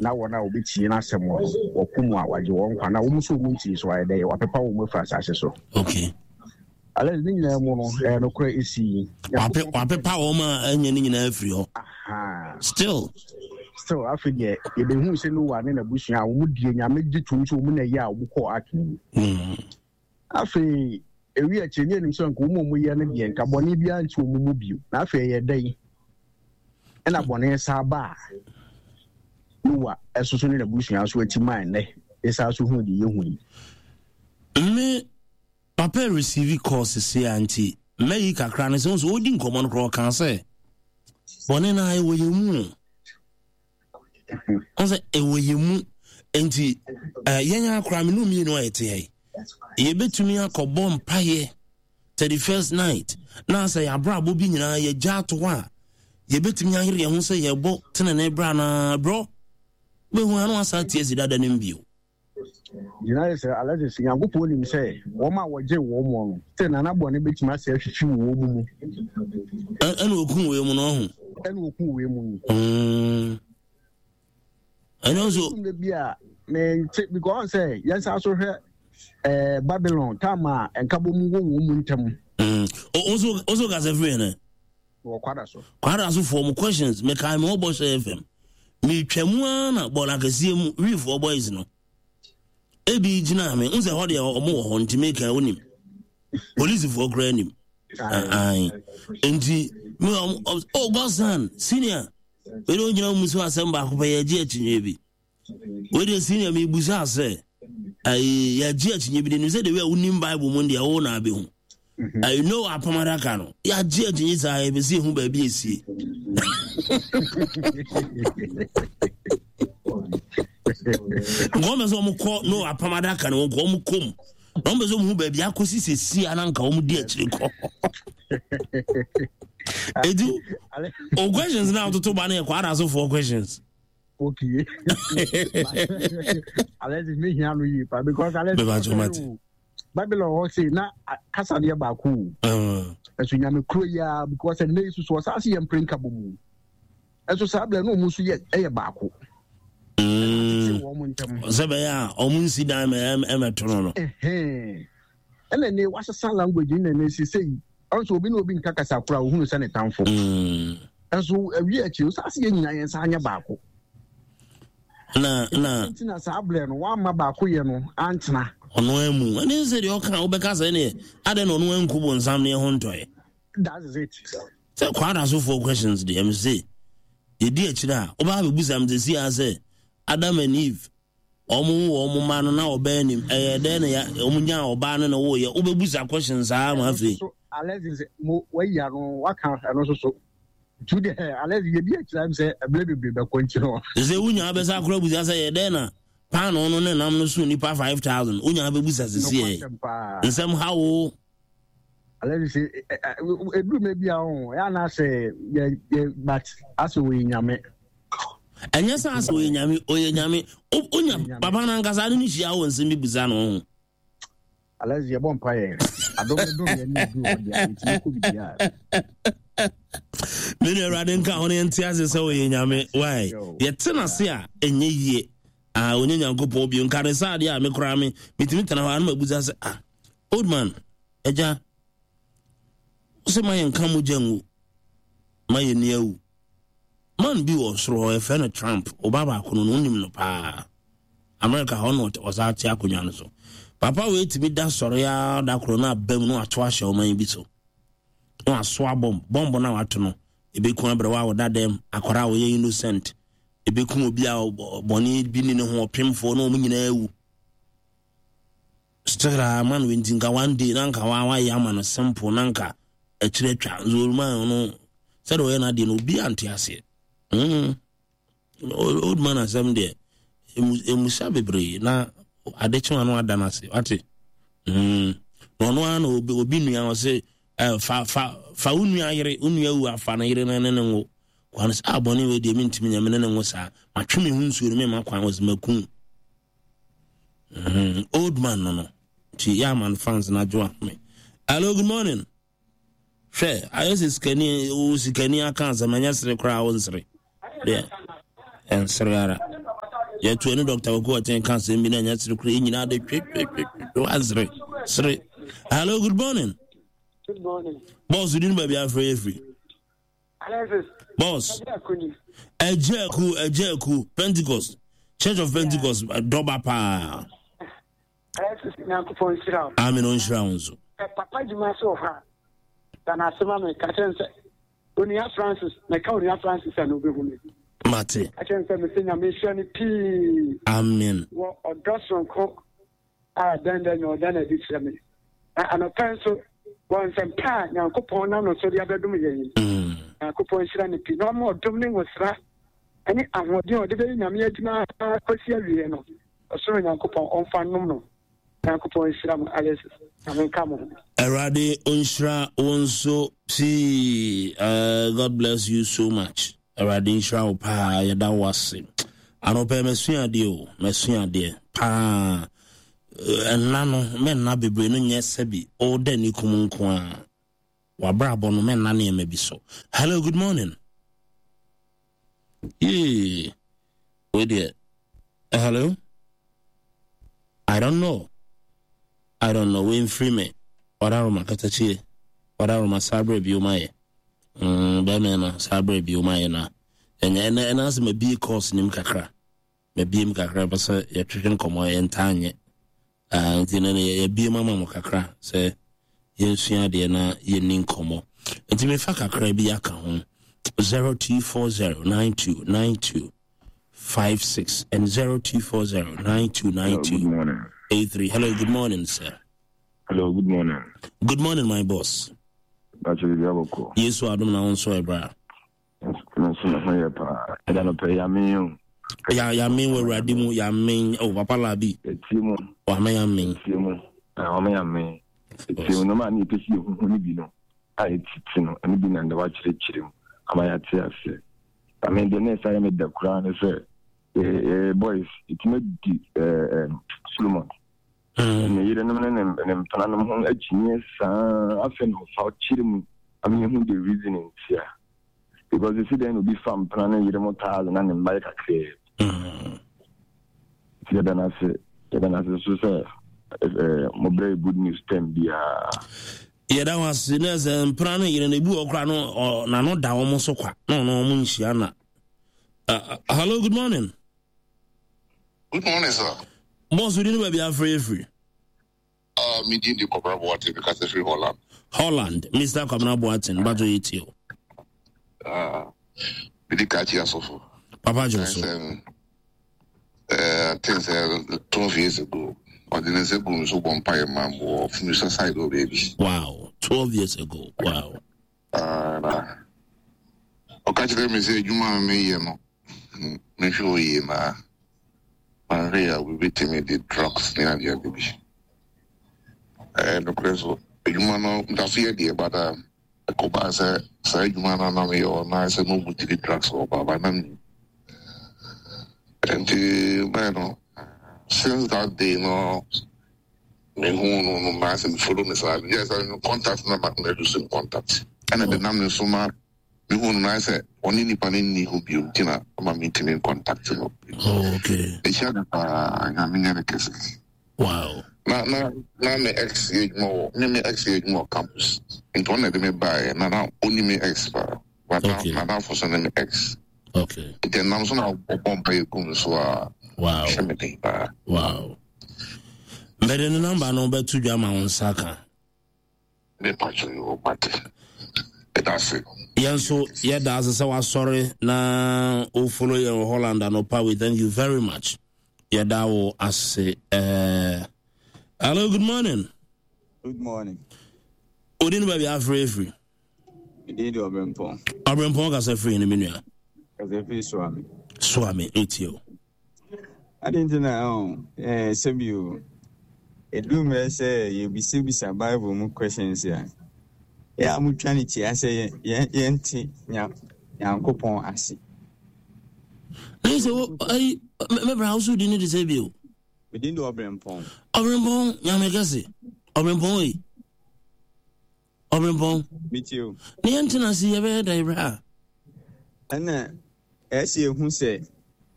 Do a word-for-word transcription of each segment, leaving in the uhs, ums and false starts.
Na wɔn a wɔbɛtie n'asɛm no, wɔko mu a wagye wɔn nkwa, na wɔn nso wɔn ntie so ayɛ dɛ wapepa wɔn afiri asase so. Okay. Alex, ne nyinaa mu no, ɛyɛ nokorɛ ɛsi. Wapepa wɔn a ɛnyɛ ne nyinaa afiri hɔ. Still. Still, afei deɛ yɛbɛhu sɛ Noah ne n'abusua a wɔn die Nyame gye tom sɛ wɔn na ɛyɛ a wɔn kɔɔ ark no mu. Mm. Afei ewi akyire ne anim sɛ nka wɔn a wɔyɛ no deɛ nka bɔne biara nti wɔn mu bio. Na afei ɛyɛ dɛn ɛna bɔne saa ba a Noah ɛsoso ne n'abusua nso akyi maa nnɛ yɛsan so hu deɛ yɛhu yi. Me papa receive call sisi a nti mɛyi kakra no sɛ nso ɔdi nkɔmmɔ no koraa ɔka sɛ bɔne no a ɛwɔ yɛn mu ɔn sɛ ɛwɔ yɛn mu nti yɛn akora me no mmienu a yɛte ha yi, yɛbɛtumi akɔbɔ mpaeɛ thirty first night na sɛ yɛabrabɔ bi nyinaa yɛgya ato hɔ a, yɛbɛtumi ayere yɛn ho sɛ yɛbɔ tenene berɛ anaa berɛ bɛhu ano asa tie si dada no mbio. Gyina yɛ sɛ Alexis, Nyankopɔn nim sɛ wɔn a wɔgye wɔn mu no sɛ nana bɔne bɛtumi asɛ ahwihwi wɔ wɔn mu. Ɛna ɔku wei mu no ɔho. Ɛna ɔku wei mu no. Mm. Ɛno nso. Bi a mente because sɛ yɛn sa so hwɛ ɛɛ Babylon time a nkabom wɔ wɔn mu ntam. Mm. Oso oso kasa firi yɛn. Wɔ kwada so. Kwada so foɔ mo questions mekae me wɔ Bɔhyɛ F M. Metwa mu ara na bɔɔl akɛseɛ mu wiifoɔ boys no. Ebi gyina me n sɛ hɔ deɛ ɔmo wɔ hɔ nti meka wonim. Polisifoɔ koraa nim. Ae. Nti me ɔmo, oh Godson senior. Wei de ogyina mu so asɛm baako pɛ yɛgye akyinnyeɛ bi. Wei deɛ senior mebusa sɛ ayi yɛgye akyinnyeɛ bi de nim sɛ de wei a wonim Bible mu deɛ wo na abɛhu. Ayi no apam adaka no yɛagye akyinnye saa yɛbɛsi ehu baabi esie. Nkɔm bɛ sɛ wɔn kɔ no apam adaka no wɔn kɔ wɔn kɔm na wɔn bɛ sɛ wɔn hu baabi akɔsi sɛsi a na nka wɔn di akyire kɔ. Edu o questions na atoto ba no yɛ kɔ adasofoɔ questions. Okay. Alexis me hia no yie pa because Alexis. Bɛba jɔ mate. Babylon hɔ sei na kasa deɛ baako o. Ɛso nyame kuro yi ara because ɛnɛ yi soso ɔsan se yɛ mpere nkabɔ mu. Ɛso saa abirɛ no ɔmo nso yɛ ɛyɛ baako. Sɛ bɛyɛ a ɔmo nsi dan mɛ ɛmɛto no no. Ɛna ne wasesa language ne na ne sise yi ɔnso obi ne obi nka kasa koro a ohunu sɛ ne tamfo. Ɛso awie akyire ɔsan se yɛ nyinaa yɛn nsa anyɛ baako. Na na. Nti na saa abirɛ no wamma baako yɛ no antena. Ɔno amu ɛne sɛ deɛ ɔka wobɛka sɛ neɛ adɛn na ɔno anku bonsam ne ɛho ntɔɛ. That is it. Sɛ kwada sofoɔ questions deɛ ɛm se yɛdi akyire a wobaa bɛbusa m sɛsi a sɛ Adam and Eve ɔmo wo ɔmo mma no na ɔbaa nim ɛyɛ dɛn na ya ɔmo nyaa ɔbaa no na woyɛ wobɛbusa questions saa ma afei. Alexis mo wayi ano waka ɛno nso so tu deɛ Alexis yɛdi akyire am sɛ ɛberɛ bebree bɛkɔ nti no. Sɛ wonya bɛsa akora busa sɛ yɛ dɛn na paano no ne nam no so nipa five thousand wonya bɛbusa sisi ɛ nsɛm ha wo. Alexis ɛduru mɛ bi a ɔho ɛyɛ anaasɛ yɛ yɛ but asɛ wɔyɛ nyame. Ɛnyɛ sɛ asɛ ɔyɛ nyame ɔyɛ nyame onya papa no ankasa ne no hyia wɔ nsɛm bi busa no ho. Alexis yɛbɔ mpa yɛ adom no dom yɛ ne ɛduru hɔ deɛ yɛtumi kɔ biribiara. Me nua Awurade nka ho no yɛnte ase sɛ ɔyɛ nyame why yɛte n'ase a ɛnyɛ yie ah ɔnyɛ Nyankopɔn bio nka ne saa adeɛ a me koraa me metumi tena hɔ a na mabusa sɛ ah old man agya wo sɛ ma yɛnka mogya ngu ma yɛnni awu. Man bi wɔ soro hɔ yɛfrɛ no Trump, ɔba baako no no wonim no paa. America hɔ na ɔsan te akonnwa no so. Papa wei tumi da sɔre ara da koro na aba mu na wato ahyɛ ɔman bi so. Na wasoa bɔmb, bɔmb no a wato no, ebeku aberewa a ɔda dɛm, akwara a ɔyɛ innocent, ebeku obi a bɔne bi ni ne ho, ɔpemfoɔ na wɔn nyinaa awu. Still a man wei nti nka one day na nka wa wayɛ ama no simple na nka akyire atwa nso man no sɛdeɛ ɔyɛ n'adeɛ no obi ante aseɛ. Mm. Old man asɛm deɛ emusa bebree na ade kye ano ada no ase wate. Mm. Na ɔno ara na obi obi nua ɔse eh, fa fa fa wo nua yere wo nua wu afa no yere no ne ne ngo kwan sɛ abɔne ah, wei deɛ mentumi nyɛ me ne ne ngo saa matwe me ho nsuo no mema kwan wɔ sɛ makum. Mm, old man no no nti yɛ ama no fans no adwo ahome. Hello, good morning. Hwɛ ayɛ sɛ sikani wo sikani aka asɛm ɛnyɛ sere koraa wo nsere deɛ ɛnsere ara. Yɛto ɛne Doctor Kwaku Ɔten ka asɛm bi na ɛnyɛ sere kora, yɛn nyinaa de twetwetwetwe ansere sere. Hello, good morning. Good morning. Boss, di no baabi afrɛ yɛ firi. Alexis. Boss. Ɛgye aku, ɛgye aku, Pentecost, Church of Pentecost, dɔba paa. Alexis, Nyankopɔn nhyira wo. Amen, ɔnhyira wo nso. Papa adwuma so wɔ hɔ a, da no ase ma me, ka kyerɛ no sɛ, Onua Francis, meka Onua Francis a na obehu me. Mate. Ka kyerɛ no sɛ mese Nyame nhyira no pii. Amen. Wɔ ɔdɔ soronko a dɛn dɛn na ɔda no adi kyerɛ me. Na anɔpa nso, wɔ nsɛmpa a Nyankopɔn nam no so de abɛdom yɛn yi. Mm. Nyankopɔn nhyira no pii na ɔma ɔdom ne ngosra ne ahoɔden a ɔde bɛyɛ Nyame adwuma kɔsi awieɛ no, ɔsoro Nyankopɔn ɔmfa nnom no. Nyankopɔn nhyira mo, Alexis. Nyame nka mo ho. Awurade ɔnhyira wo nso pii. Uh, God bless you so much. Awurade nhyira wo paa, yɛda wo ase. Anɔpɛ masua adeɛ o, masua adeɛ paa. Ɛnna no, mɛnna bebree no nyɛ sɛbi ɔda ni kum nko a. Wabrabɔ no mɛnna nneɛma bi so. Hello, good morning. Yee, wei deɛ. Hello? I don't know. I don't know. Wei mfiri me. Ɔdaroma katakyie. Ɔdaroma saa berɛ bio ma yɛ. Mm, bɛrima no saa berɛ bio ma yɛ na. Ɛnyɛ ɛna ɛna asɛ mabie course nim kakra. Mabie mu kakra pɛ sɛ yɛtwetwe nkɔmmɔ yɛntaa nyɛ. Uh, nti no yɛbie mu ama mo kakra sɛ yɛnsua adeɛ na yɛnni nkɔmmɔ. Nti mefa kakra bi aka ho. zero two four zero nine two nine two five six and zero two four zero nine two nine two eight three. Hello, good morning, sir. Hello, good morning. Good morning, my boss. Yesu adom na wo nso ɛbra. Nso me ho yɛ paa. Ɛda no pɛ yamen o. Ya yamen wɔ awurade mu yamen o papa labi. Etie mu. Wama yamen. Etie mu. Wama yamen. Etie mu nneɛma a ne yɛpɛ sɛ yɛhuhu no bi no a yɛtete no ɛno bi na ndɛ wakyerɛkyerɛ mu ama yɛate aseɛ. Na me deɛ na ɛsa yɛ me dɛ koraa ne sɛ eh, boys ɛtumi adi eh, Solomon mm. ne yerenom ne ne mpenanom ho akyinnyeɛ saa afei na ɔfa kyerɛ mu ama yɛhu the reason ntia because ɛsi dɛn na obi fa mpena ne yere mo taa na ne mma yɛ kakraa mm. nti yɛda no ase yɛda no ase so sɛ mobrɛ good news term biara. Yɛda ho ase na sɛ mpena no yere no ebi wɔ koraa no n'ano da wɔn so kwa na ɔno wɔn nhyia na. Uh, hello, good morning. Good morning, sir. Boss, we didn't be afraid free. Uh, me din de Kwabena Boateng, because free Holland. Holland, Mister Kwabena Boateng, bato yetio. Ah, me di kachi asofo. Papa Johnson. Uh, things uh, twelve years ago. Ɔde ne nsa gu nso bɔ mpaeɛ ma m wɔ Funisa side hɔ baabi. Wow, twelve years ago. Wow. Uh, na ɔka kyerɛ me sɛ adwuma a meyɛ no mehwɛ hɔ yie na mahwɛ a wobɛtumi de drugs ne adeade bi. Nokorɛ so adwuma no nda so yɛ deɛ bada ɛkɔbaa sɛ saa adwuma no na meyɛ hɔ na sɛ na ɔmutiri drugs wɔ baaba na menim. Nti bɛn no since that day no me hu no no ma sɛ follow me saa yes I contact na ma na do some contact ɛna de nam ne so ma me hu no na sɛ ɔne nipa no nni ho bio nti na ama me ntumi contact no. Oh, okay. Ehyia no paa Nyame nyɛ ne kɛse. Wow. Na na na me ex yɛ adwuma wɔ me me ex yɛ adwuma wɔ campus nti ɔno na ɛde me baeɛ na na ɔni me ex paa but na Okay. na n'afo so ne me ex. Okay. Nti ɛnam so na ɔbɔ mpa yɛ gu me so a Wow. hyɛ me den paa. Wow. Mede ne namba no bɛto dwa ma wo nsa ka. Me patro yi wɔ mate. Ɛda ase. Yɛn nso yɛda ase sɛ wasɔre na wo follow yɛn wɔ Holland anɔpa. We thank you very much. Yɛda wo ase. Uh, hello, good morning. Good morning. Odi no baabi afrɛ afiri. Mede de Ɔbrɛmpɔn. Ɔbrɛmpɔn kasa firi no me nua. Kasa firi Suame. Suame, etie o. Ade nti na ɔn ɛɛ sɛbi o. Edu mmerɛ sɛ yɛbisabisa Bible mu questions a, yɛ a motwa ne tia sɛ yɛn yɛnte nya Nyankopɔn ase. Na sɛ wo ayi mɛbra wo so di ne de sɛ bio. Medin de Ɔbrɛmpɔn. Ɔbrɛmpɔn Nyame kɛse. Ɔbrɛmpɔn ei. Ɔbrɛmpɔn. Metie o. Na yɛntena ase yɛbɛyɛ dɛn berɛ a? Ɛna ɛsɛ ehu sɛ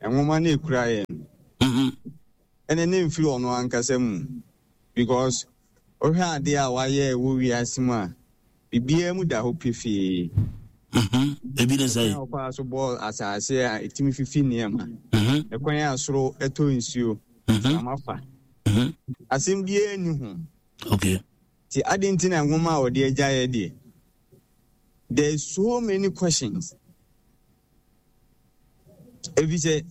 nwoma no ekura yɛn no, Mhm. Ɛne ne mfiri ɔno ankasa mu because wohwɛ adeɛ a wayɛ wɔ wiase mu a, biribiara mu da hɔ pefee. Mhm. Ebi ne sɛ. Ɛkwan a ɔfaa so bɔɔ asase a ɛtumi fifi nneɛma. Mhm. Ɛkwan a soro ɛtɔ nsuo. Mhm. Mframa fa. Mhm. Asɛm biara nni ho. Okay. Nti adɛn nti na nwoma a ɔde agyaeɛ deɛ? There's so many questions. Efisɛ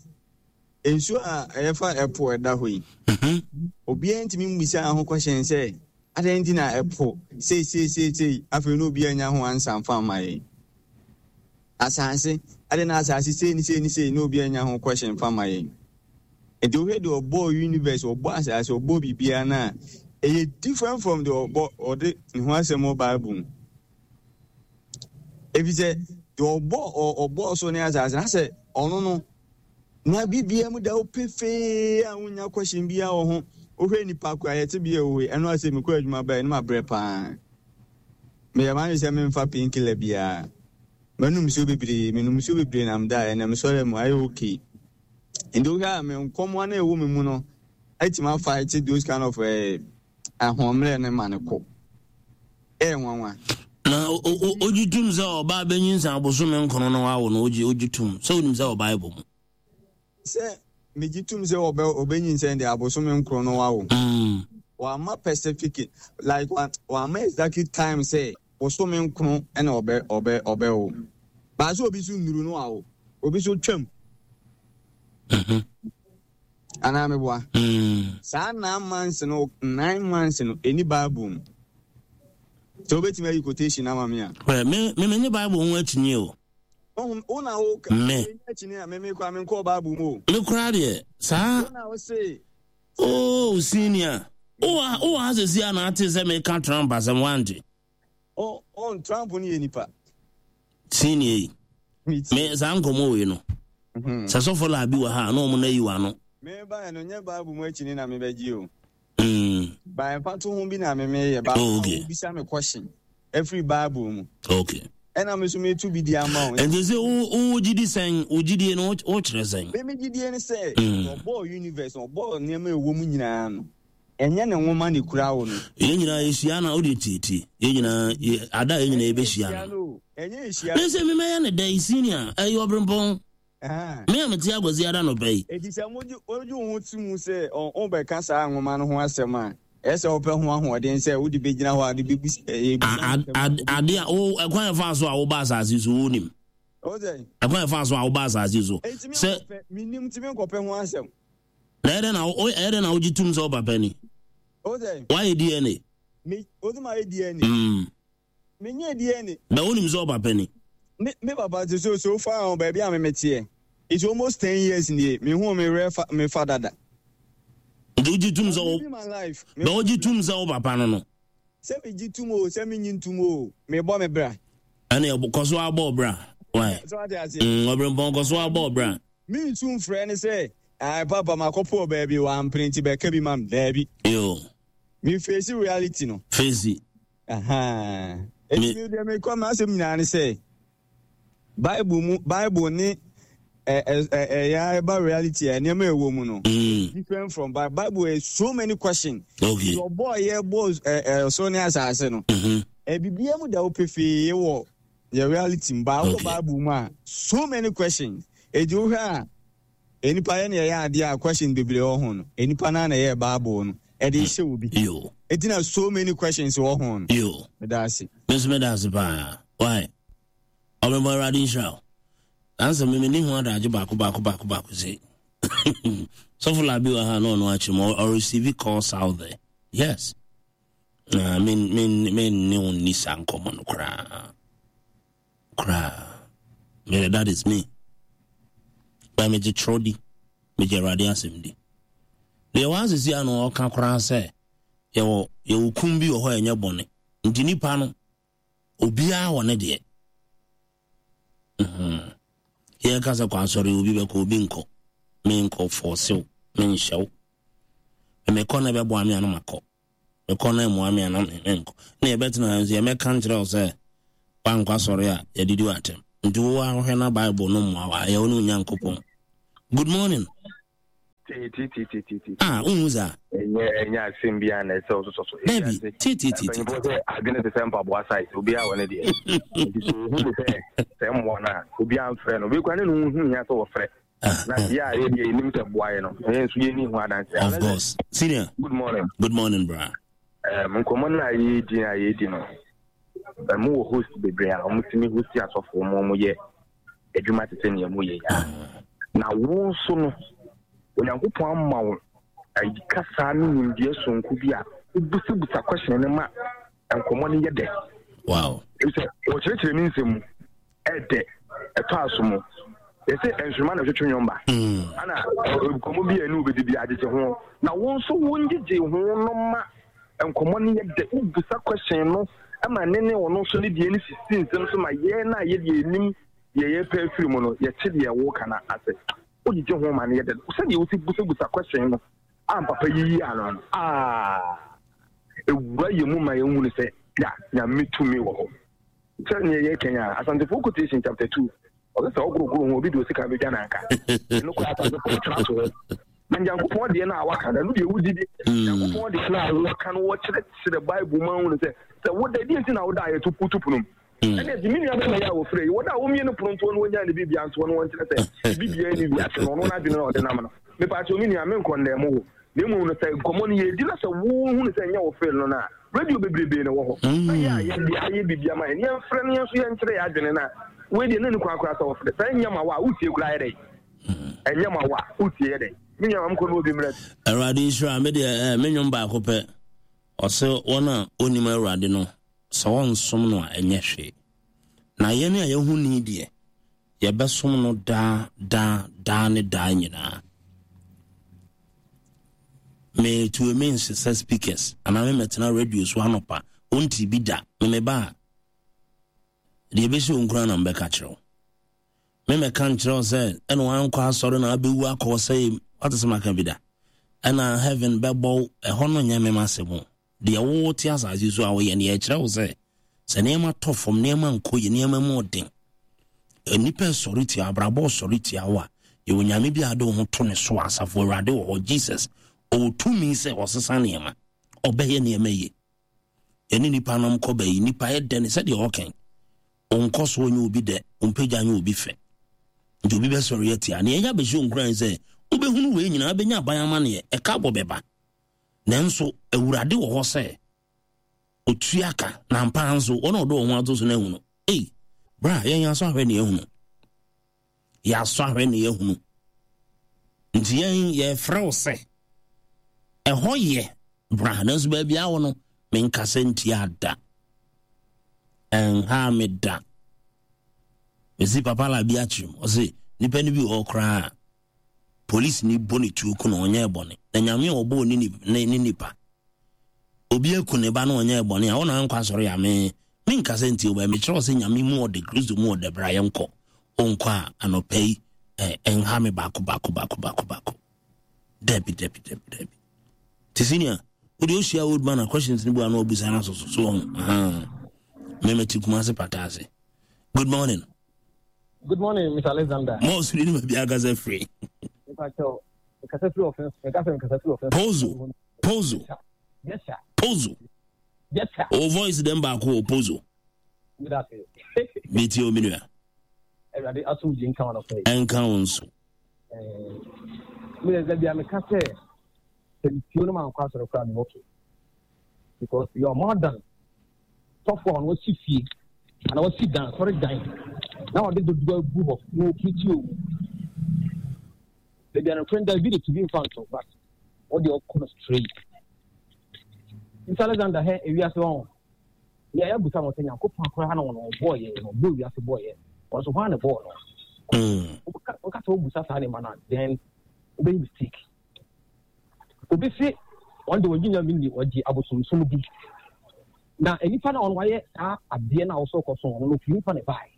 nsuo a ɛfa ɛpo ɛda hɔ yi, Mhm. obiara ntumi mmisa ho question sɛ adɛn nti na ɛpo sei sei sei sei, afei na obiara nya ho ansa mfa mma yɛn. Asase, adɛn na asase sei ne sei ne sei na obiara nya ho question mfa mma yɛn. Nti wohwɛ deɛ ɔbɔɔ universe, ɔbɔɔ asase, ɔbɔɔ biribiara no a, ɛyɛ different from deɛ ɔbɔ ɔde ne ho asɛm wɔ Bible mu. Efisɛ deɛ ɔbɔ ɔbɔɔ so ne asase na sɛ ɔno no na biribiara mu da wo pefee a wonya question biara wɔ ho. Wohwɛ nipa ko a yɛte bi ɛwɔ yi, ɛno asɛ mekɔ adwuma bae no mabrɛ paa. Meyɛ m'adwene sɛ memfa painkiller biara. Manom nsuo bebree, menom nsuo bebree na medaeɛ, na mesɔre mu ayɛ okay. Nti wohwɛ a me nkɔmmoa no a ɛwɔ me mu no atumi afight those kind of eh, ahoɔmmerɛ no ma no kɔ. Ɛyɛ nwanwa. Na ogye tum sɛ ɔbaa bɛnyinsɛn abosome nkron na wawo no, ogye ogye tum sɛ wonim sɛ wɔ Bible mu. Sɛ megye tum sɛ ɔbɛ ɔbɛnyinsɛn deɛ abosome nkron no wawo. Mm. Wama specific like wama exactly time sɛ bosome nkron ɛna ɔbɛ ɔbɛ ɔbɛwo. Baasa obi so nnuru no wawo, obi so twam. Mhm. Anaa meboa. Mm. Saa nine months no nine months no ɛni Bible mu. Sɛ wobɛtumi ayi quotation ama me a. Well, me me me nye Bible ho akyinnye o. Wo na wo Me. akyinnye a me me kora me nkɔɔ Bible mu o. Me koraa deɛ saa. Wo na wo se. Oh, senior. Wowɔ wowɔ ha sɛsi a na ate sɛ meka Trump asɛm wante. Oh, oh, Trump no yɛ nipa. Senior yi. Me saa nkɔmmɔ wei no. Mhm. Sɛ sɔfo laa bi wɔ ha a na ɔmo na yi w'ano. Me ba no nyɛ Bible mu akyi na mebɛgye o. Mm. Ba mfatoho bi na me meyɛ ba. Oh, okay. Bisa me question ɛfiri Bible mu. Okay. Ɛna me nso metu bi di ama wo. Nti sɛ wo wo gyidi sɛn, wo gyidie no wo kyerɛ sɛn? Me me gyidie ne sɛ Mm. ɔbɔɔ universe, ɔbɔɔ nneɛma a ɛwɔ mu nyinaa no, ɛnyɛ ne nwoma na ekura wo no. Yɛn nyinaa yɛhyia na wode tietie. Yɛn nyinaa yɛ ada a yɛn nyinaa yɛbɛhyia no. Ɛnyɛ ehyia. Ne sɛ memɛyɛ ne dɛ senior ɛyɛ ɔbrempɔn. Ɛhɛn. Me a mete akwasi ada nɔpɛ yi. Eti sɛ mogye wogye wo ho to mu sɛ wobɛka saa nwoma no ho asɛm a, ɛyɛ sɛ wopɛ ho ahoɔden sɛ wode bɛgyina hɔ a wode bɛbisa ɛyɛ A- a- a- Ade a wo ɛkwan ɛfa so a woba asase so wonim. Wo sɛ Ɛkwan ɛfa so a woba asase so. enti me Sɛ nkɔpɛ menim nti menkɔpɛ ho asɛm. na ɛyɛ dɛn na wo ɛyɛ dɛn na wogye tum sɛ wo papa ni? Wo sɛ Woayɛ D N A? Me wo sɛ mayɛ D N A. Mm. Menyɛ D N A. Na wonim sɛ wo papa ni? Me me papa te so so far on baabi a me meteɛ. It's almost ten years nie. Me hu me werɛ fa me fa dada. Nti wogye tum sɛ wo Living my life. Me na wogye tum sɛ wo papa no no. Sɛ megye tum o, sɛ menyi ntum o, mebɔ me bra. Ɛne kɔ so abɔ bra. Why? So ate aseɛ. Mm, ɔbrempɔn kɔ so abɔ bra. Mensu mfrɛ ne sɛ ai papa makɔpɔ baabi wampene nti bɛka bi ma me daabi. Yo, Me face reality no. Face. Aha. Me- Enti me deɛ mekɔ m'asɛm nyinaa ne sɛ Bible mu Bible ne ɛ ɛ ɛ ɛyɛ ɛba reality a nneɛma a ɛwɔ mu no Mm, different from Bible. Bible is so many questions. okay. Ɔbɔɔ yɛ bɔɔ ɛ ɛ ɔsoro ne asase no. Mhm. Ɛbibia mu da wo pefee wɔ yɛ reality mu. Ba wɔ Okay. Bible mu a, so many questions. Eti wohwɛ a enipa yɛ ne yɛyɛ adeɛ a question bebree wɔ ho no. Enipa naa na ɛyɛ Bible no. Ɛde hyɛ obi. Yo, Eti na so many questions wɔ ho no. Yo. Meda ase. Me nso meda ase paa. Why? Ɔbrempɔn, Awurade nhyira wo. Ansa me menni ho adagye baako baako baako baako sei. Sɔfo Labi wɔ ha na ɔno akyerɛ mu ɔreceive calls out there. Yes. Na me me me ne wo nni saa nkɔmmɔ no koraa. Koraa. Me, that is me. Ba megye twerɛ di. Megye Awurade asɛm di. Deɛ wɔasisi ano ɔka koraa sɛ yɛwɔ yɛwɔ kum bi wɔ hɔ a ɛnyɛ bɔne. Nti nipa no obiara wɔ ne deɛ. Mhm. Yɛka sɛ kɔ asɔre, obi bɛkɔ, obi nkɔ. Menkɔ fɔɔsew, menhyɛ wo. Mekɔ na ɛbɛboa me a na makɔ. Mekɔ na ɛmmoa me a na menkɔ. Na yɛbɛtena ha nso yɛmɛka nkyerɛ wo sɛ woankɔ asɔre a yɛdidi wo atɛm. Nti wo a wohwɛ na Bible no mmoa wo a, ɛyɛ wo ne Onyankopɔn. Good morning. Tee. Ah, wohu saa? Ɛnyɛ ɛnyɛ asɛm bi a na ɛsɛ ɔsosɔ so. Dabi, tee tee tee. Mpanyinfoɔ sɛ adwene te sɛ mpaboa size, obiara wɔ ne deɛ. Nti sɛ ohu ne sɛ sɛ mmoa no a, obiara mfrɛ no. Obi kura ne ne ho hu hia sɛ wɔfrɛ. Na deɛ a yɛ deɛ yɛnim sɛ boa yɛ no, yɛn nso yɛnni ho adanse. Of course. Senior. Good morning. Good morning, bra. Um, nkɔmmɔ no a yɛredi a yɛredi no, ɛmu wɔ host bebree a wɔtumi host asɔfoɔ mu wɔn yɛ adwuma te sɛ nea mu yɛ ya. Na wo nso no, Onyankopɔn ama wo ayi kasa ne nimdeɛ sonko bi a wobusabusa question no ma nkɔmmɔ no yɛ dɛ. Wow. Sɛ wɔkyerɛkyerɛ ne nsɛm mu ɛdɛ ɛtɔ aso mu. Yɛsɛ nsoroma na ɛtwetwe nnwom ba. Mm. Ana nkɔmmɔ bi a ɛne wobɛdi bi agyegye ho. Na wo nso wo ngyegye ho no ma nkɔmmɔ no yɛ dɛ. Wobusa question no ma ne ne ɔno nso ne deɛ no sisi nsɛm so ma yɛn a yɛdeɛ yɛnim deɛ yɛpɛ afiri mu no yɛte deɛ woka no ase. Wogyegye ho ma no yɛ dɛ. Sɛdeɛ wosi busabusa question no a papa yiyi ano no, ah, ewura yɛ mu ma yɛhu no sɛ ya Nyame tumi wɔ hɔ. Sɛ neɛ yɛka yi a, Asantefoɔ quotation chapter two, ɔsɛ sɛ ɔgorogoro ho obi de osika bɛdwa nanka. Ɛno koraa Asantefoɔ tena so hɔ. Na Nyankopɔn deɛ no a waka no, ɛno deɛ wogye di. Nyankopɔn deɛ no a wɔka no, wɔkyerɛkyerɛ Bible mu ahunu sɛ, sɛ woda, deɛ nti na woda a yɛto woto pono mu. Ɛne ɛti me nua bɛma yɛ a wɔfrɛ yi, wɔda a wɔmmie no pono ntoɔ no wɔnyaa ne biribia ntoɔ no wɔnkyerɛ sɛ biribiara ni wiase no, ɔno n'adwene na ɔde nam no. Mepa kyɛw me nua, menkɔ nnɛɛ mo wo. Na mmom no sɛ nkɔmmɔ no yɛdi na sɛ wohunu sɛ ɛnyɛ wo feel no no a, radio bebrebe na ɛwɔ hɔ. Na yɛ a yɛde ayɛ biribi ama yɛn, yɛmfrɛ no yɛn nso yɛnkyerɛ yɛn adwene no a, wei deɛ na ne kwan koraa sɛ wɔfrɛ. Sɛ ɛnyɛ ma wo a, wotie koraa yɛ dɛn? Ɛnyɛ ma wo a, wotie yɛ dɛn? Me nua ma mekɔ no obi mmerɛ. Awurade nhyira me deɛ eh, me nnwom baako pɛ. Ɔsɛ wɔn a wɔnim Awurade no, sɛ wɔnsom no a ɛnyɛ hwee. Na yɛn a yɛhu ni deɛ, yɛbɛsom no daa daa daa ne daa nyinaa. Metue me nsesa speakers anaa memɛtena radio so anɔpa wonti bi da memeba a deɛ ɛbɛsi wo nkura na mbɛka kyerɛ wo. Memɛka nkyerɛ wo sɛ ɛna wankɔ asɔre na abɛwu akɔ sɛ wate sɛ maka bi da ɛna heaven bɛbɔ wo ɛhɔ no nyɛ mema asɛm o. Deɛ wote asase so a woyɛ no yɛkyerɛ wo sɛ sɛ nneɛma tɔ fam, nneɛma nkɔ yie, nneɛma mu ɔden, nnipa sɔre tia, abrabɔ sɔre tia wo a, yɛwɔ Nyame bi a ade wo ho to ne so a, asafo Awurade wɔ hɔ, Jesus ɔwɔ tumi sɛ ɔsesa nneɛma, ɔbɛyɛ nneɛma yie. Yɛne nnipa nom kɔ bɛyi, nnipa yɛ dɛ ne sɛdeɛ ɔkɛn, ɔnkɔ so ɔnyɛ obi dɛ, ɔmpagya nyɛ obi fɛ, nti obi bɛsɔre atia. Nea ɛyɛ abɛhyɛ nkuran sɛ wobɛhunu wei nyinaa, wobɛnya aban amanneɛ, ɛka bɔ bɛba. Nanso Awurade wɔ hɔ sɛ otua ka, na ampa ara nso wɔn a wɔde wɔn ho ato so no ahunu. Ei, bra, yɛn asɔ ahwɛ ne yɛahunu. Yɛasɔ ahwɛ ne yɛahunu. Nti yɛn yɛfrɛ wo sɛ ɛhɔ yɛ bra, nanso baabi a wɔ no menkasa ntia da. Ɛnha me da. Mesi papa la bi akyerɛ mu. Ɔse nipa no bi wɔ hɔ koraa polisi ni bɔ ne tuo ku na ɔnyɛ bɔne. Na Nyame a ɔbɔɔ ne ne ne nipa. Obi aku ne ba na ɔnyɛ bɔne a ɔna ankɔ asɔre a me menkasa ntie wo, mekyerɛ wo sɛ Nyame mu ɔde Kristo mu ɔde bra yɛnkɔ. Onkɔ a anɔpa yi ɛnha me baako baako baako baako baako. Dabi dabi dabi dabi. Te senior, wode ohyia old man a questions ni bu ano obusa na so so so ho. Aha. Me mete Kumase pata ase. Good morning. Good morning, Mister Alexander. Mo suri ni ma bi akasa free. Pozo. Pozo. Yes, sir. Pozo. Yes, sir. O voice dem baako o Pozo. Meti o minua. Awurade asomdwe nka wɔn afɛ. Ɛnka wɔn nso. Mi yɛ sɛ bia meka sɛ sɛ metuo no ma nkɔ asɔre koraa me okay because you are more than sɔfo a ɔno wasi fie ana wasi dan sɔre dan na ɔde dodoɔ agu hɔ na ɔpirikyi owu baabi a nokorɛ da bi de tumi mfa nto but wɔde ɔkɔ no straight. Mister Alexander hɛ ewiase wɔn yɛ yɛ busa wɔn sɛ Nyankopɔn koraa na wɔn ɔbɔɔ yɛ na ɔbɔɔ wiase bɔɔ yɛ wɔn so hwan na bɔɔ no. Wɔka sɛ wɔbusa saa nneɛma no a then wobɛyɛ mistake. Obi se wɔn de wɔgye Nyame ni wɔgye abosomsom di na nipa na wɔn wayɛ saa adeɛ na wɔsɔ kɔ so wɔn no ofiri nipa na ɛbaeɛ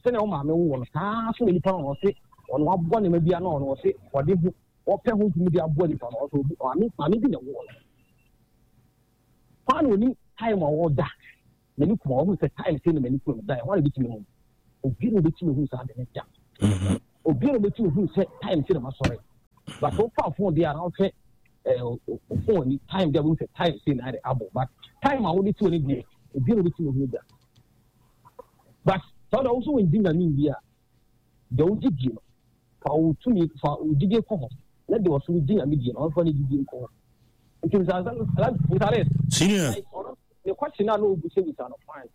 sɛnea wɔn maame wo wɔn saa so na nipa na wɔn se wɔn waboa nneɛma bi ano wɔn se wɔde ho wɔpɛ ho ntumi de aboa nipa no ɔsɛ obi maame maame bi na ɛwɔ no kwan na onim time a wɔda n'ani kuma wɔn sɛ time sɛ na n'ani kuma da ɛhɔ na ebitumi hu obi na obetumi hu saa de ne da obi na obetumi hu sɛ time sɛ na ma sɔre But wofa phone deɛ a na wohwɛ ɛɛ o phone ni time deɛ wohu sɛ time sei na ayɛ abɔ, but time a wode to ne deɛ obi na obɛtumi ahu da. But sɛ wode wo so wɔngye Nyame ndi a, deɛ wogye die no, fa wo tumi, fa wo gyidie kɔ hɔ, na deɛ ɔso gye Nyame die no, ɔmfa ne gyidie nkɔ hɔ. Nti nsare senior ne question a na ɔbisabisa no, fine,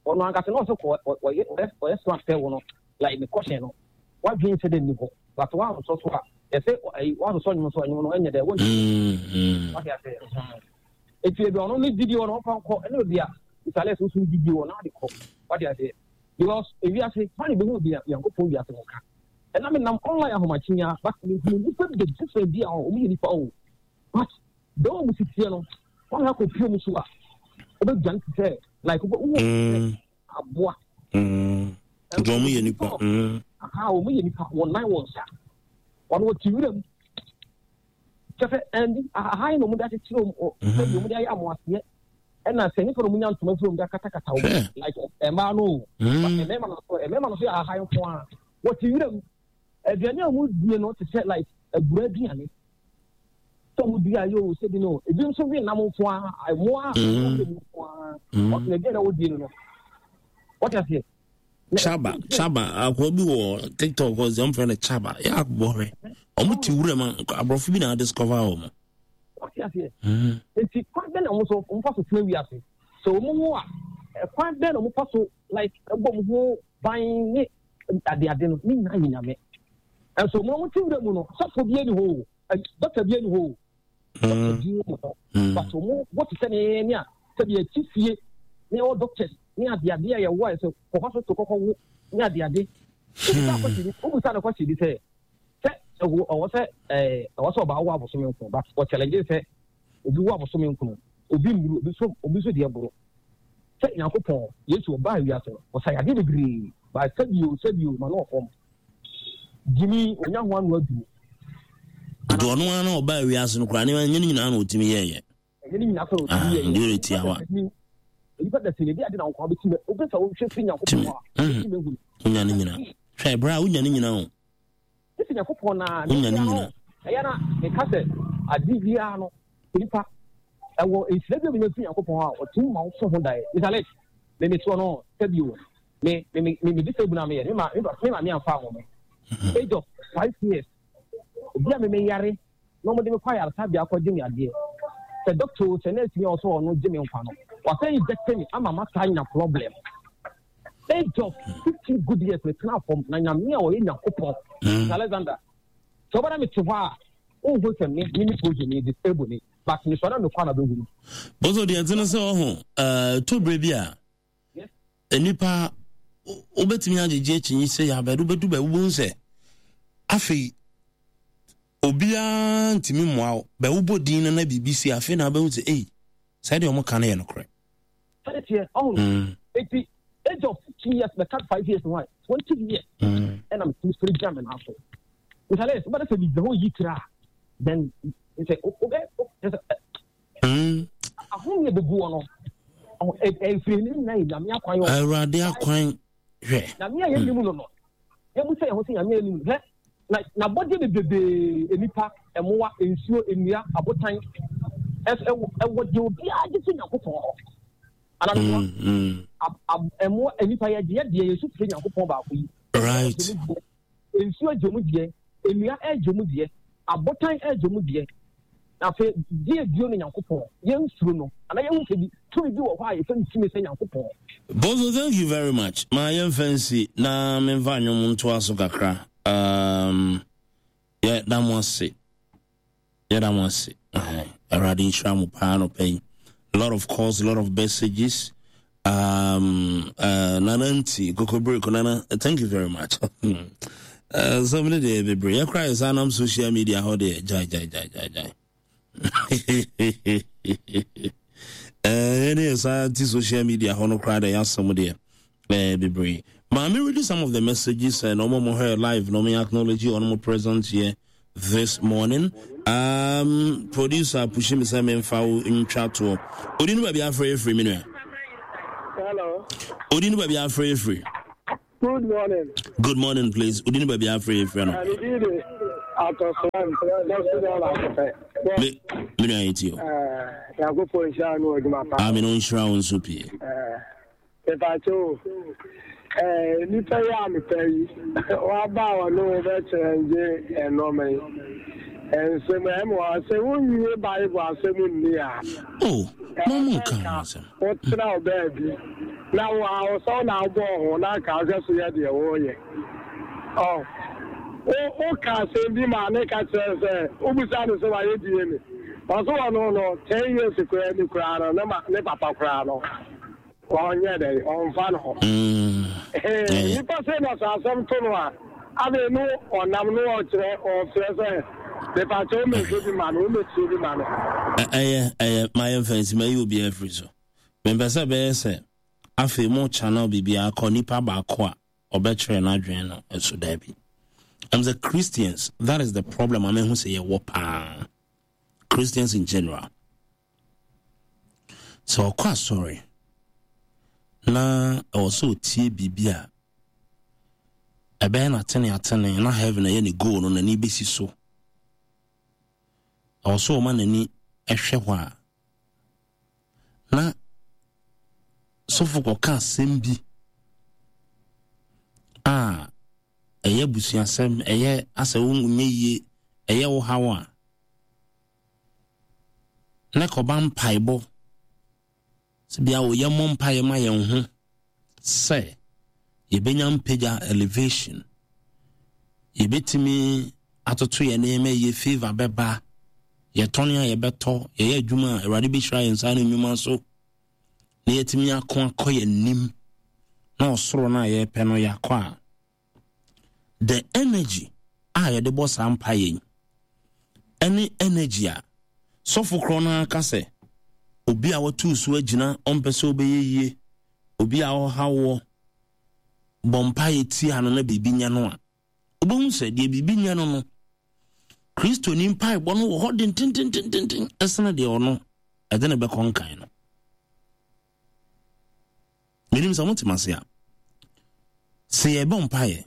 ɔno ankasa na ɔsɛ kɔ ɔyɛ ɔyɛ smart sɛ wo no, like ne question no wadwene sɛ dɛ nni hɔ, but wansɔ so a yɛsɛ ɛyi wansɔ nwom so nwom no ɛnyɛ dɛ wɔn wate ase. Eti ebi ɔno ne gyidie wɔ no ɔfa nkɔ, ɛna obi a nsale so so gyidie wɔ no ade kɔ, wate ase, because ewiase kwan ebi ho bi Nyankopɔn wiase ho ka. Ɛna me nam online ahomakye ya, but me hu nipa bi different bi a ɔmo yɛ nipa o, but dɔw ɔmo si teɛ no wɔn akɔ pie mu so a ɔbɛdwane te sɛ like wɔ wɔ aboa. Nti ɔmo yɛ nipa. Aha, ɔmo yɛ nipa, wɔn nan wɔn nsa, wɔn wɔ ti wura mu kyɛ sɛ ɛndi aha yi na ɔmo de akyekyere ɔmo, sɛbi ɔmo de ayɛ amoaseɛ, ɛna sɛ nipa na ɔmo nya ntoma firi ɔmo de akatakata ɔmo, like mmaa no o, mmarima no so mmarima no so yɛ aha yi nko ara, wɔte wura mu, aduane a ɔmo die no te sɛ like abura aduane sɛ ɔmo dua yɛ o, sɛbi no ebi nso we nam nko ara, mmoa a ɔmo wɔ mu nko ara, ɔtena aduane a wɔdie no no wɔte aseɛ. Chaba, Chaba, akoa bi wɔ TikTok hɔ sɛ ɔmfrɛ no Chaba, yɛ akobɔ hwɛ ɔmo te wura mu, aborɔfo bi na adiscover wɔ mo. Wɔte aseɛ. Nti kwan bɛn na ɔmo so ɔmo fa so tena wiase sɛ ɔmo ho a, kwan bɛn na ɔmo fa so like ɛbɔ ɔmo ho ban ne adeade no ne nyinaa yɛ Nyame. Ɛnso ɔmo ɔmo te wura mu no, sɔfo bi ani hɔ o, dɔkta bi ani hɔ o, dɔkta bi ani hɔ, but ɔmo wɔte sɛ ne ne a sɛbi ɛti fie ne ɛwɔ doctors ne adeade a yɛwɔ a sɛ kɔkɔ so to kɔkɔ wo ne adeade. Obusa akɔsi bi, obusa no kɔsi bi sɛ sɛ ɛwɔ ɛwɔ sɛ ɛɛ ɛwɔ sɛ ɔbaa wo abosome nko, but wɔ challenge sɛ obi wo abosome nko, obi mburu obi so, obi so deɛ boro sɛ Nyankopɔn Yesu ɔbaa wiase no ɔsa yadeɛ bebree ba, sɛbi o, sɛbi o, ma no ɔfɔm gyimi onya ho ano aduro. Nti ɔno ara na ɔbaa wiase no koraa ne ɛnyɛ ne nyinaa na ɔtumi yɛɛyɛ. Ɛnyɛ ne nyinaa sɛ ɔtumi yɛɛyɛ. Deɛ ɔyɛ tiawa. Nipa da sɛ ebi ade na nkwa bɛtumi wobɛ sɛ wohwɛ firi Nyankopɔn hɔ a wobɛtumi ahu. Wonya ne nyinaa hwɛ berɛ a wonya ne nyinaa o. Ɛsɛ Nyankopɔn na wonya ne nyinaa. Ɛyɛ na meka sɛ ade biara no nipa ɛwɔ nhyira bi a menya firi Nyankopɔn hɔ a ɔtumi ma wo so ho daeɛ. Mister Alex, me metoɔ no sɛbi o, me me me me disable na meyɛ me ma me ma me amfa ho me age of five years obi a me me yare na wɔde me kɔ ayaresabea akɔgye me adeɛ sɛ doctor o, sɛ nurse ni a ɔsɛ ɔno gye me nkwa no wasan inject me ama masa anya problem. Age of fifteen good years me tena fam na Nyame a ɔyɛ Nyankopɔn. Mister Alexander, sɛ ɔbɛda me te hɔ a wonhu sɛ me me ne poison me disable ni, but me sɔre a mekɔ a na bɛhunu. Bozo deɛ ɛte no sɛ ɔho ɛɛ berɛ bi a nnipa wobɛtumi agyegye akyinyi sɛ yɛ abɛde wobɛdu baabi wobɛhu sɛ afei obiara ntumi mmoa wo, bɛ wobɔ din no na biribi si afei na wobɛhu sɛ ei, sɛ deɛ ɔmo ka no yɛ nokorɛ. Sɛde teɛ ɔho no, eti age of fifteen years bɛka five years ho a, twenty years ɛna metumi sɔre gyina me nan so. Nsale wobɛde sɛ biribi hɔ yi tira a, then sɛ wobɛ sɛ ahom yɛ bɛgu wɔ no ɛfiri ne nyinaa yɛ Nyame akwan. Awurade akwan hwɛ. Nyame a yɛnim no no yɛbu sɛ yɛn ho sɛ Nyame a yɛnim no hwɛ na n'abɔdeɛ bebrebee, nnipa, mmoa, nsuo, nnua, abotan, ɛwɔ deɛ obiara gye fi Nyankopɔn hɔ. Ananoa mmoa, nnipa yɛgye yɛ deɛ yɛsu firi Nyankopɔn baako yi. Right. Nsuo gye mu deɛ, nnua ɛgye mu deɛ, abotan ɛgye mu deɛ. Afei deɛ bio no Nyankopɔn yɛnsuro no anaa yɛhu sɛ bi tumi bi wɔ hɔ a yɛfɛ no tumi sɛ Nyankopɔn. Bozo, thank you very much. Ma yɛmfa nsi na memfa nnwom ntoa so kakra. Um, yɛda mo ase. Yɛda mo ase. Awurade nhyira mo paa nɔpɛ yi. A lot of calls, a lot of messages. Um, uh, Nana Nti, Kokobreko, Nana, thank you very much. uh, some of the bebree. Yɛkora yɛ saa nam social media hɔ deɛ, gyae, gyae, gyae, gyae, gyae. Ɛne yɛ saa ti social media hɔ no koraa deɛ, yɛasɛm deɛ eh, bebree. Maame read some of the messages and ɔmo mo hwɛ live na ɔmo acknowledge ɔmo present here this morning. Um, producer pushi me sɛ memfa wo ntwa toɔ. Odi no baabi afrɛ yɛ firi me nua. Hello. Odi no baabi afrɛ yɛ firi. Good morning. Good morning, please. Odi no baabi afrɛ yɛ firi no. Medin de Atɔsram, dɔso dɛ baako pɛ. Me me nua yɛ ti o. Ɛɛ, Nyankopɔn nhyira no adwuma pa. Amen, ɔnhyira wo nso pii. Ɛɛ, mepaakyɛ o. Ɛɛ, nipa yi a mepɛ yi, waba a ɔne wo bɛkyerɛ ngye ɛnɔɔma yi. Nsɛm ɛmu a sɛ wonwie Bible asɛm nni a. Oh, mo mo nka ho asɛm. Wotena wo baabi na wo a wo sɛ wo na wobɔɔ ho na anka wohwɛ so yɛ deɛ woreyɛ. Ɔ, wo woka asɛm bi ma ne ka kyerɛ sɛ wobisa no sɛ wayɛ D N A. Ɔso ɔno no ten years koraa ni koraa no ne ma ne papa koraa no ɔnyɛ dɛ ɔmfa no ho. Nipa sɛ na sɛ asɛm to no a afei no ɔnam no ɔkyerɛ ɔfrɛ sɛ mepakyɛ womɛhwɛ bi ma no, womɛtie bi ma no. Ɛyɛ ɛyɛ ma yɛmfa nsi ma yi obiara afiri so. Mempɛ sɛ bɛyɛ sɛ afei mo channel biribiara kɔ nipa baako a ɔbɛkyerɛ n'adwene no ɛso daabi. I'm the Christians, that is the problem. I mean, who say yɛwɔ paa. Christians in general. So ɔkɔ asɔre na ɛwɔ sɛ ɔtie biribi a ɛbɛyɛ n'atene atene na heaven ɛyɛ ne goal no n'ani bɛsi so. Ɛwɔ sɛ ɔma n'ani ɛhwɛ hɔ a na sɔfo kɔka asɛm bi a ɛyɛ abusuasɛm, ɛyɛ asɛ wonyɛ yie, ɛyɛ wo haw a na kɔba mpaebɔ sɛ bia wɔyɛ mmɔ mpaeɛ ma yɛn ho sɛ yɛbɛnya mpagya elevation, yɛbɛtumi atoto yɛn nneɛma yie, favor bɛba, yɛtɔne a yɛbɛtɔ, yɛyɛ adwuma a Awurade bɛhyira yɛn nsa ne nnwuma so, na yɛtumi ako akɔ yɛn anim na ɔsoro no a yɛrepɛ no yɛakɔ a, the energy a yɛde bɔ saa mpaeɛ yi ɛne energy a sɔfo korɔ no aka sɛ obi a watu so agyina ɔmpɛ sɛ ɔbɛyɛ yie, obi a ɔha wɔ bɔ mpaeɛ tia no na biribi nya no a, wobɛhu sɛ deɛ biribi nya no no Kristo ni mpaebɔ no wɔ hɔ dententententen ɛsene deɛ ɔno ɛde ne bɛkɔ nkan no. Menim sɛ mote ase a, sɛ yɛbɔ mpaeɛ,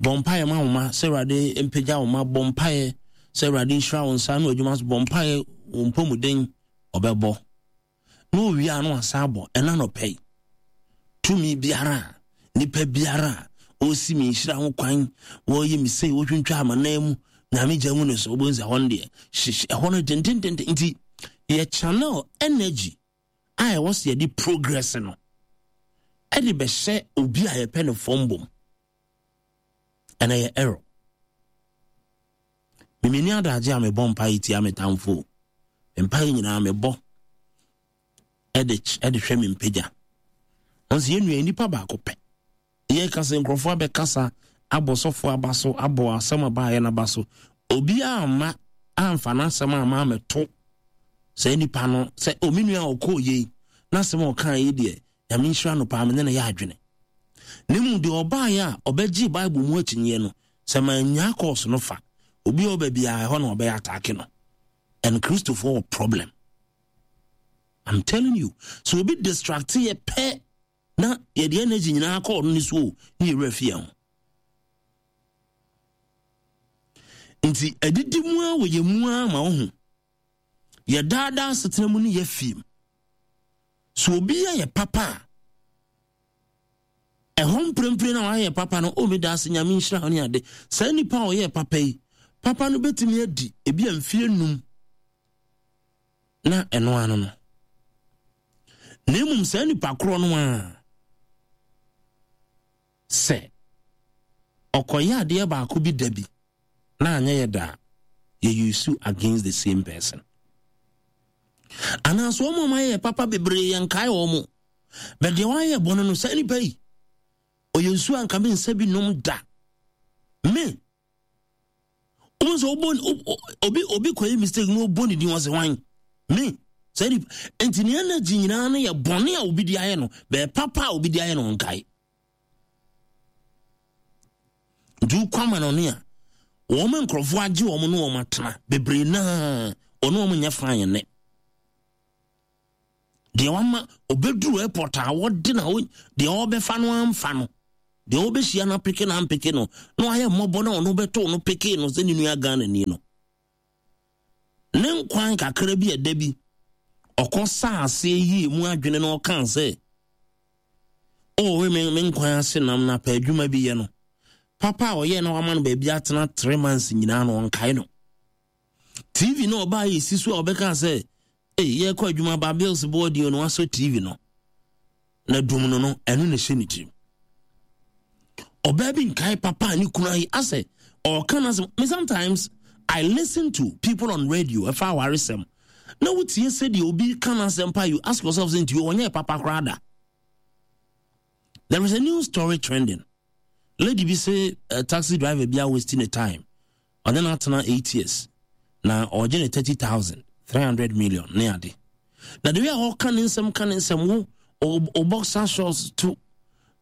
bɔ mpaeɛ ma wo ma sɛ Awurade mpagya wo ma, bɔ mpaeɛ sɛ Awurade nhyira wo nsa no adwuma so, bɔ mpaeɛ wo mpɔmuden ɔbɛbɔ na owie a no asa abɔ ɛna nɔpɛ yi. Tumi biara, nipa biara ɔsi me nhyira ho kwan, wɔyɛ me sei, wɔtwintwa amanan mu, Nyame gya mu ne so, wobɛhu sɛ ɛhɔ no deɛ hyehyɛ ɛhɔ no dendendenden. Nti yɛ channel energy a ɛwɔ sɛ yɛde progress no ɛde bɛhyɛ obi a yɛpɛ ne fam bom, ɛna yɛ error. Memeni adagye a mebɔ mpaeɛ tia me tamfo, mpaeɛ nyinaa mebɔ ɛde ɛde hwɛ me mpagya. Ɔnso yɛn nua nipa baako pɛ yɛka sɛ nkurɔfoɔ abɛkasa abɔ sɔfo aba so, abɔ asɛm aba ayɛ n'aba so, obiara amma amfa n'asɛm amma amɛto saa nipa no sɛ omi nua a ɔkɔɔ yei n'asɛm a ɔkaa yi deɛ Nyame nhyira no paa, me ne no yɛ adwene. Na mmom deɛ ɔbaeɛ a ɔbɛgye Bible mu akyinnyeɛ no, sɛ mannya course no fa obi a ɔba biara ɛhɔ na ɔbɛyɛ ataake no. And Kristofoɔ wɔ problem, I'm telling you. So obi distract yɛ pɛ na yɛde energy nyinaa kɔ ɔno ne so o, ne yɛwura fie ho. Nti adidi mu a wɔ yɛ mu a ma wo ho yɛ daadaa asetena mu ne yɛ fie mu. So obi yɛ yɛ papa a ɛhɔ mprempren na wayɛ papa no, o meda ase, Nyame nhyira wo ne ade. Saa nipa a ɔyɛ papa yi, papa no bɛtumi adi ebi a mfie num na ɛno ano no. Na mmom saa nipa korɔ no a sɛ ɔkɔyɛ adeɛ baako bi da bi na anyɛ yɛ da, yɛ use against the same person. Anaasɛ wɔn a wɔayɛ papa bebree yɛn nkae wɔn, bɛ deɛ wɔayɛ bɔne no, saa nipa yi ɔyɛ nsuo anka me nsa bi nom da. Me wɔn sɛ ɔbɔ obi obi kɔyɛ mistake na ɔbɔ ne din wɔn sɛ hwan me saa nipa. Nti ne energy nyinaa no yɛ bɔne a obi di ayɛ no, bɛyɛ papa a obi di ayɛ no nkae. Nti wokɔ ama no ne a wɔn nkurɔfoɔ agye wɔn ne wɔn atena bebree naa ɔne wɔn nyɛ fine nnɛ. Deɛ wama obɛduru airport a wɔde na deɛ ɔbɛfa no amfa no Deɛ wobɛhyia no apeke na ampeke no na wayɛ mmɔbɔ na ɔno bɛtoo no peke no sɛ ne nua Ghana ni no. Ne nkwan kakra bi ɛda bi ɔkɔ saa aseɛ yie mu adwene na ɔkaa sɛ ɔwɔ me me nkwan ase nam na pɛ adwuma bi yɛ no. Papa a ɔyɛ na wama no baabi atena three months nyinaa no ɔnkae no. T V no ɔbaa yɛ si so a ɔbɛka sɛ ee yɛkɔ adwuma ba bills boɔ deɛ no wasɔ T V no na dum no no ɛno na ɛhyɛ ne tirim. Ɔbaa bi nkae papa ne kunu ayi asɛ ɔka na sɛ me sometimes I listen to people on radio ɛfa awaresɛm na wotie sɛdeɛ obi ka na asɛm pa, you ask yourself sɛ nti ɔnyɛ papa koraa da. There is a new story trending. Lady bi say a taxi driver bi a wasting the time. Ɔne no atena eight years na ɔgye ne thirty thousand three hundred million ne ade. Na the way a ɔka ne nsɛm ka ne nsɛm wo o boxer shorts to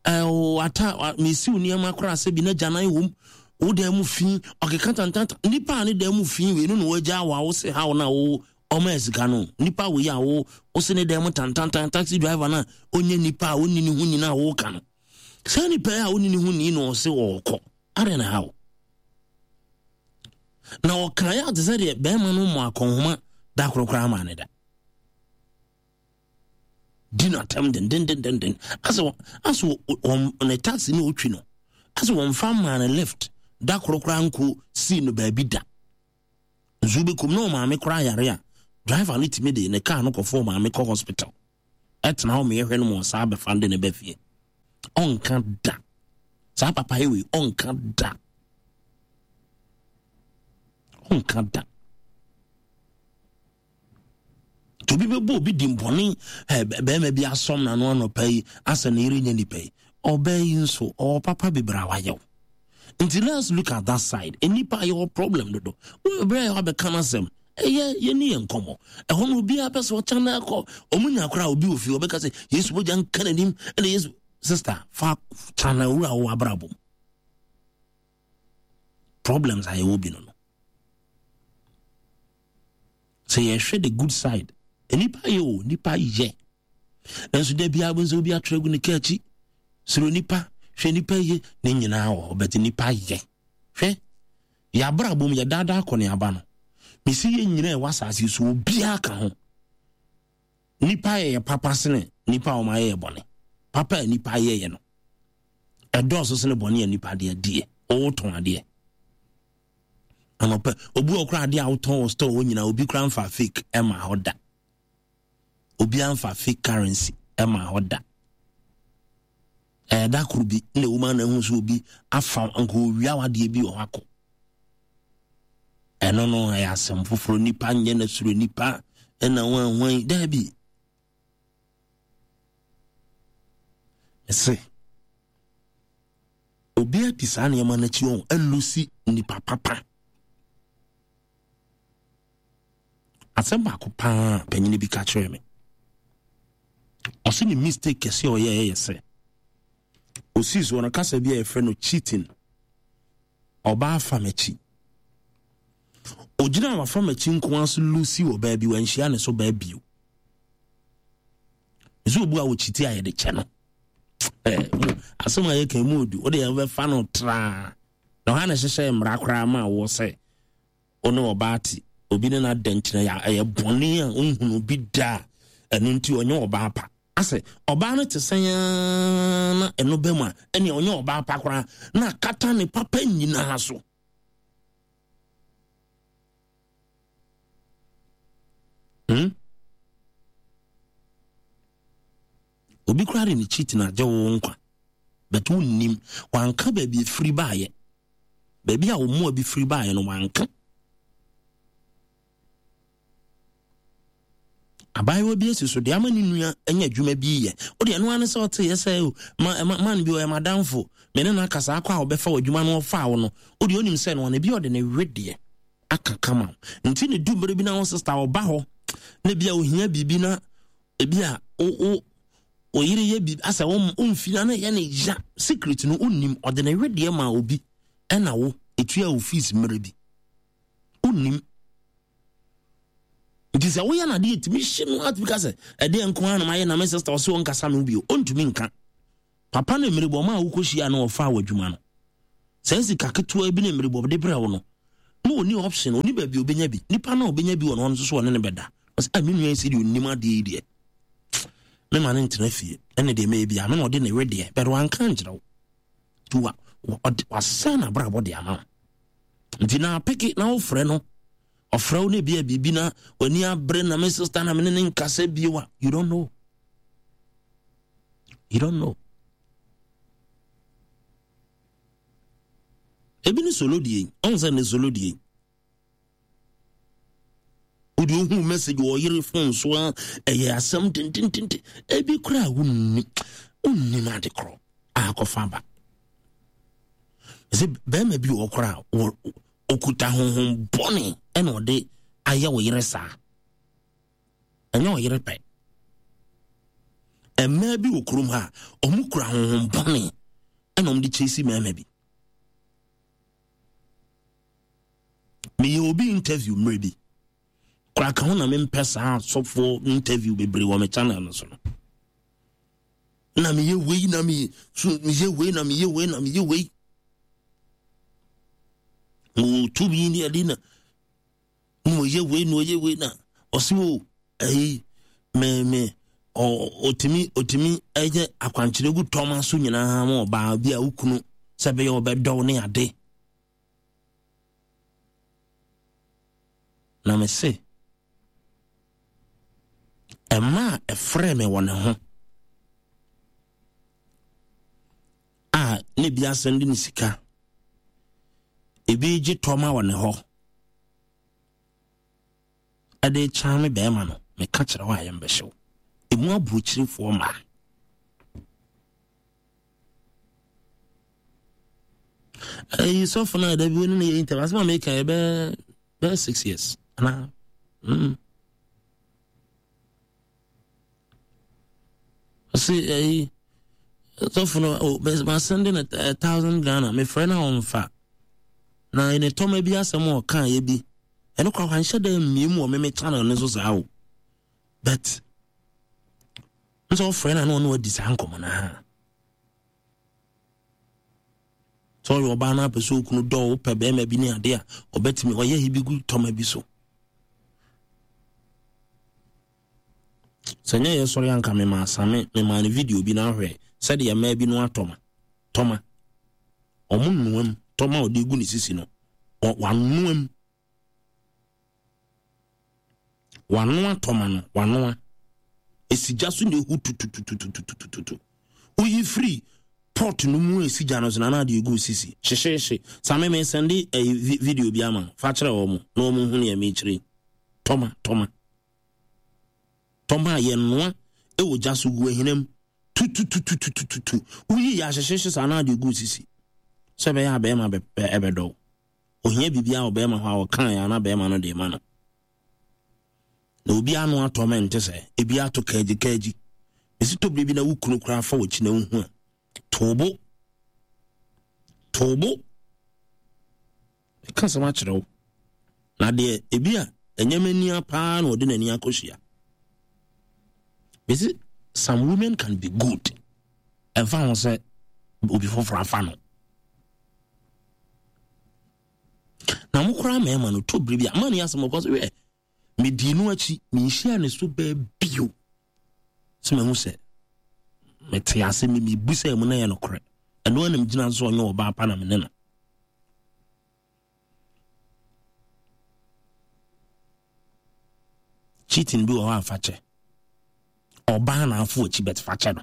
o ata mesiw nneɛma koraa sɛ bi na gyanan wom wo dan mu fi ɔkeka tantanta nipa a ne dan mu fi wei no na wagya wa wo se how na wo ɔma sika no nipa wei a wo wo se ne dan mu tantantan taxi driver na onye nipa a onni ne ho nyina wo ka no sɛ nipa a onni ne ho ni na ɔse ɔkɔ are na how na ɔka ya te sɛ deɛ bɛrima no mmɔ akɔnhoma da korokora ama ne da di na tem den den den den den asɛ asɛ wɔn ne taxi ne otwi no asɛ wɔn fa maa ne left da korokora nko si no baabi da nso bɛkum na ɔmaame koraa yare a driver no tumi de ne car no kɔfo ɔmaame kɔ hospital ɛtena hɔ meyɛhwɛ no ma ɔsaa bɛfa de ne ba fie ɔnka da saa papa yi wei ɔnka da ɔnka da tobi bɛbɔ obi di mbɔne bɛrima bi asɔm n'ano anɔpa yi asɛ ne yere nyɛ nipa yi ɔbaa yi nso ɔwɔ papa bebree a wayɛw. Nti let's look at that side. Nipa yɛ problem dodo. Wo brɛ yɛ abɛka n'asɛm. Ɛyɛ yɛ ni yɛ nkɔmɔ. Ɛhɔ no obi apɛ sɛ ɔkya na akɔ. Ɔmo nya koraa obi wɔ fie ɔbɛka sɛ Yesu mogya nka n'anim ɛna Yesu sister fa kyana wura wo abrabɔ. Problems a yɛwɔ bi no no. Sɛ yɛhwɛ the good side. Nipa yɛ o nipa yɛ. Nanso da biara bɛn sɛ obi atwerɛ gu ne kaa akyi. Soro nipa hwɛ nipa yɛ ne nyinaa wɔ hɔ bɛte nipa yɛ. Hwɛ yɛabrabɔ mu yɛdaadaa kɔ ne aba no. Mesi yɛ nyinaa ɛwɔ asase so obiara ka ho. Nipa yɛ yɛ papa sene nipa a wɔn ayɛ yɛ bɔne. Papa a nipa yɛ yɛ no. Ɛdɔɔso sene bɔne a nipa deɛ deɛ. Ɔwotɔn adeɛ. Anɔpɛ obi wɔ koraa adeɛ a wotɔn wɔ store hɔ nyinaa obi koraa mfa fake ɛma hɔ da. Obi amfa fake currency ɛma hɔ da. Ɛda koro bi na ewu ma na ehu so obi afa nka owia wadeɛ bi wɔ hɔ akɔ. Ɛno no ɛyɛ asɛm foforɔ nipa nyɛ na suro nipa ɛna wɔn wɔn daabi. Ɛsɛ obi adi saa nneɛma n'akyi wɔn ɛlusi nipa papa. Asɛm baako paa panyin bi ka kyerɛ me. Ɔsi ne mistake kɛse a ɔyɛ ɛyɛ sɛ osi so ɔno kasa bi a yɛfrɛ no cheating. Ɔbaa fa m'akyi. Ogyina wafa m'akyi nko ara so lusi wɔ baabi wanhyia ne so baabi o. Nso obu a wɔkyiti a yɛde kyɛ no. Ɛɛ asɛm a yɛka mu odu wode yɛbɛfa no traa. Na ɔha na ɛhyehyɛ mmara koraa ma wɔ sɛ ɔne ɔbaa te obi ne n'ada nkyerɛ yɛ ɛyɛ bɔne a ɔnhunu bi da a ɛno nti ɔnyɛ ɔbaa pa. Asɛ ɔbaa no te sɛn na ɛno bɛ mu a ɛne ɔnyɛ ɔbaa pa koraa na akata ne papa nyinaa so. Hmm? Obi koraa de ne cheat na agye wo nkwa. But wonnim wanka baabi efiri baayɛ. Baabi a wo bi firi baayɛ no wanka. Abaayewa bi asi so de ama ne nua anya adwuma bi yɛ. Wo de ɛno ane sɛ ɔte yɛ sɛ ma man bi ɔyɛ madamfo. Me ne na akasa akɔ a ɔbɛfa w'adwuma no ɔfa wo no. Wo de onim sɛ no ɔne bi ɔde ne wedeɛ aka kama. Nti ne du mmere bi na wo sister ɔba hɔ na bi a ohia biribi na ebi a o o oyere yɛ biribi asɛ wo mfina na yɛ ne ya secret no onim ɔde ne wedeɛ ma obi ɛna wo etua wo fees mmere bi. Onim. Nti sɛ woyɛ na adeɛ tumi hye no atumi ka sɛ ɛdeɛ nko ara na mayɛ na me sister ɔse ɔnkasa me bio ɔntumi nka. Papa no mmeribɔ ma a wokɔhyia no ɔfaa w'adwuma no. Saa sika ketewa bi ne mmeribɔ de brɛ wo no, na ɔni option, ɔni baabi ɔbɛnya bi. Nipa no a ɔbɛnya bi wɔ no hɔ no nso so ɔne ne bɛda. Ɔsɛ, ah, me nua yi sɛ deɛ ɔnim adeɛ yi deɛ, mema no ntena fie, ɛne deɛ mɛyɛ bi a, me na ɔde ne wedeɛ, bɛde wanka nkyerɛ wo. Nti wa, wasɛn n'abrabɔ de ama wo. Nti na apeke na wofrɛ no, ɔfrɛ wo na ebi a biribi na w'ani abere na me sister na me ne ne nkasa bio a, you don't know. You don't know. Ebi ne solo die, ɔn sɛ ne solo die. Wode ohu message wɔ yere phone so a ɛyɛ asɛm tententente. Ebi koraa wonni wonnim ade korɔ a akɔfa ba. Sɛ bɛrima bi wɔ koraa okuta honhom bɔne ɛna ɔde ayɛ wo yere saa. Ɛnyɛ ɔyere pɛ. Mmaa bi wɔ kurom ha a ɔmo kura honhom bɔne ɛna ɔmo de kyesi mmarima bi. Meyɛ obi interview mmerɛ bi koraa ka ho na mempɛ saa asɔfoɔ interview bebree wɔ me channel no so no. Na meyɛ wei na meyɛ so meyɛ wei na meyɛ wei na meyɛ wei. Wɔ tumi ne ade na na ɔyɛ wei na ɔyɛ wei na ɔsi wo ɛyi me me ɔtumi ɔtumi ɛyɛ akwankyerɛ gu tɔma so nyinaa ma ɔbaa bi a wokunu sɛ bɛyɛ ɔbɛdɔw ne ade. Na me se ɛma a ɛfrɛ me wɔ ne ho a ne bi asɛm de ne sika ebi gye tɔma wɔ ne hɔ ɛde kyan me bɛrima no meka kyerɛ hɔ a yɛmbɛhyew emu aburokyirefoɔ mmaa. Ɛyi sɔfo no a da bi wo ne no yɛ interview asɛm a meka yɛ bɛɛ bɛɛ six years anaa mm. Ɔse ɛyi sɔfo no o masɛnde no a thousand Ghana mefrɛ no a ɔmfa na ne tɔma bi asɛm a ɔka yɛ bi ɛno kora wanhyɛ da mmie mu wɔ meme channel no so saa o but nso ɔfrɛ no a na ɔne wadi saa nkɔmmɔ no ha sɛ ɔyɛ ɔbaa no apɛ sɛ okunu dɔ wopɛ bɛrima bi ne ade a ɔbɛtumi ɔyɛ hi bi gu tɔma bi so sɛ nyɛ yɛ sɔre anka mema asame mema no video bi na ahwɛ sɛdeɛ mmaa bi no atɔma tɔma ɔmo nnoam tɔma a ɔde gu ne sisi no wanoam wanoa tɔma no wanoa esi gya so na ehu tututututututu woyi firi pot no mu esi gya no so na na ade egu sisi hyehyehye same me sɛnde ɛyi video bi ama fa kyerɛ wɔn na wɔn hu nea mekyerɛ tɔma tɔma tɔma a yɛnoa ɛwɔ gya so gu ahinam tututututututu woyi yɛ ahyehyehye saa na ade egu sisi sɛ bɛyɛ a bɛrima ɛbɛdɔw ohia biribi a ɔbɛrima hɔ a ɔka yɛ ana bɛrima no de ma no na obi ano atɔ mɛ nte sɛ ebi ato kaagyi kaagyi esi tɔ biribi na wo kunu koraa fa w'akyi na wohu a toobo toobo ɛka sɛm akyerɛ wo na deɛ ebi a ɛnyɛ m'ani paa na ɔde n'ani akɔhyia bɛsi some women can be good ɛmfa ho sɛ obi foforɔ afa no na mo koraa mmarima no tɔ biribi a ma ne asɛm ɔkɔ so hwɛ medii no akyi menhyia ne so bɛɛ bio sɛ mahu sɛ mete ase me mebu sɛ mu na yɛ nokorɛ ɛno anam gyina so ɔnyɛ ɔbaa pa na me ne no cheating bi wɔ hɔ a fa kyɛ ɔbaa na afo akyi bɛt fa kyɛ no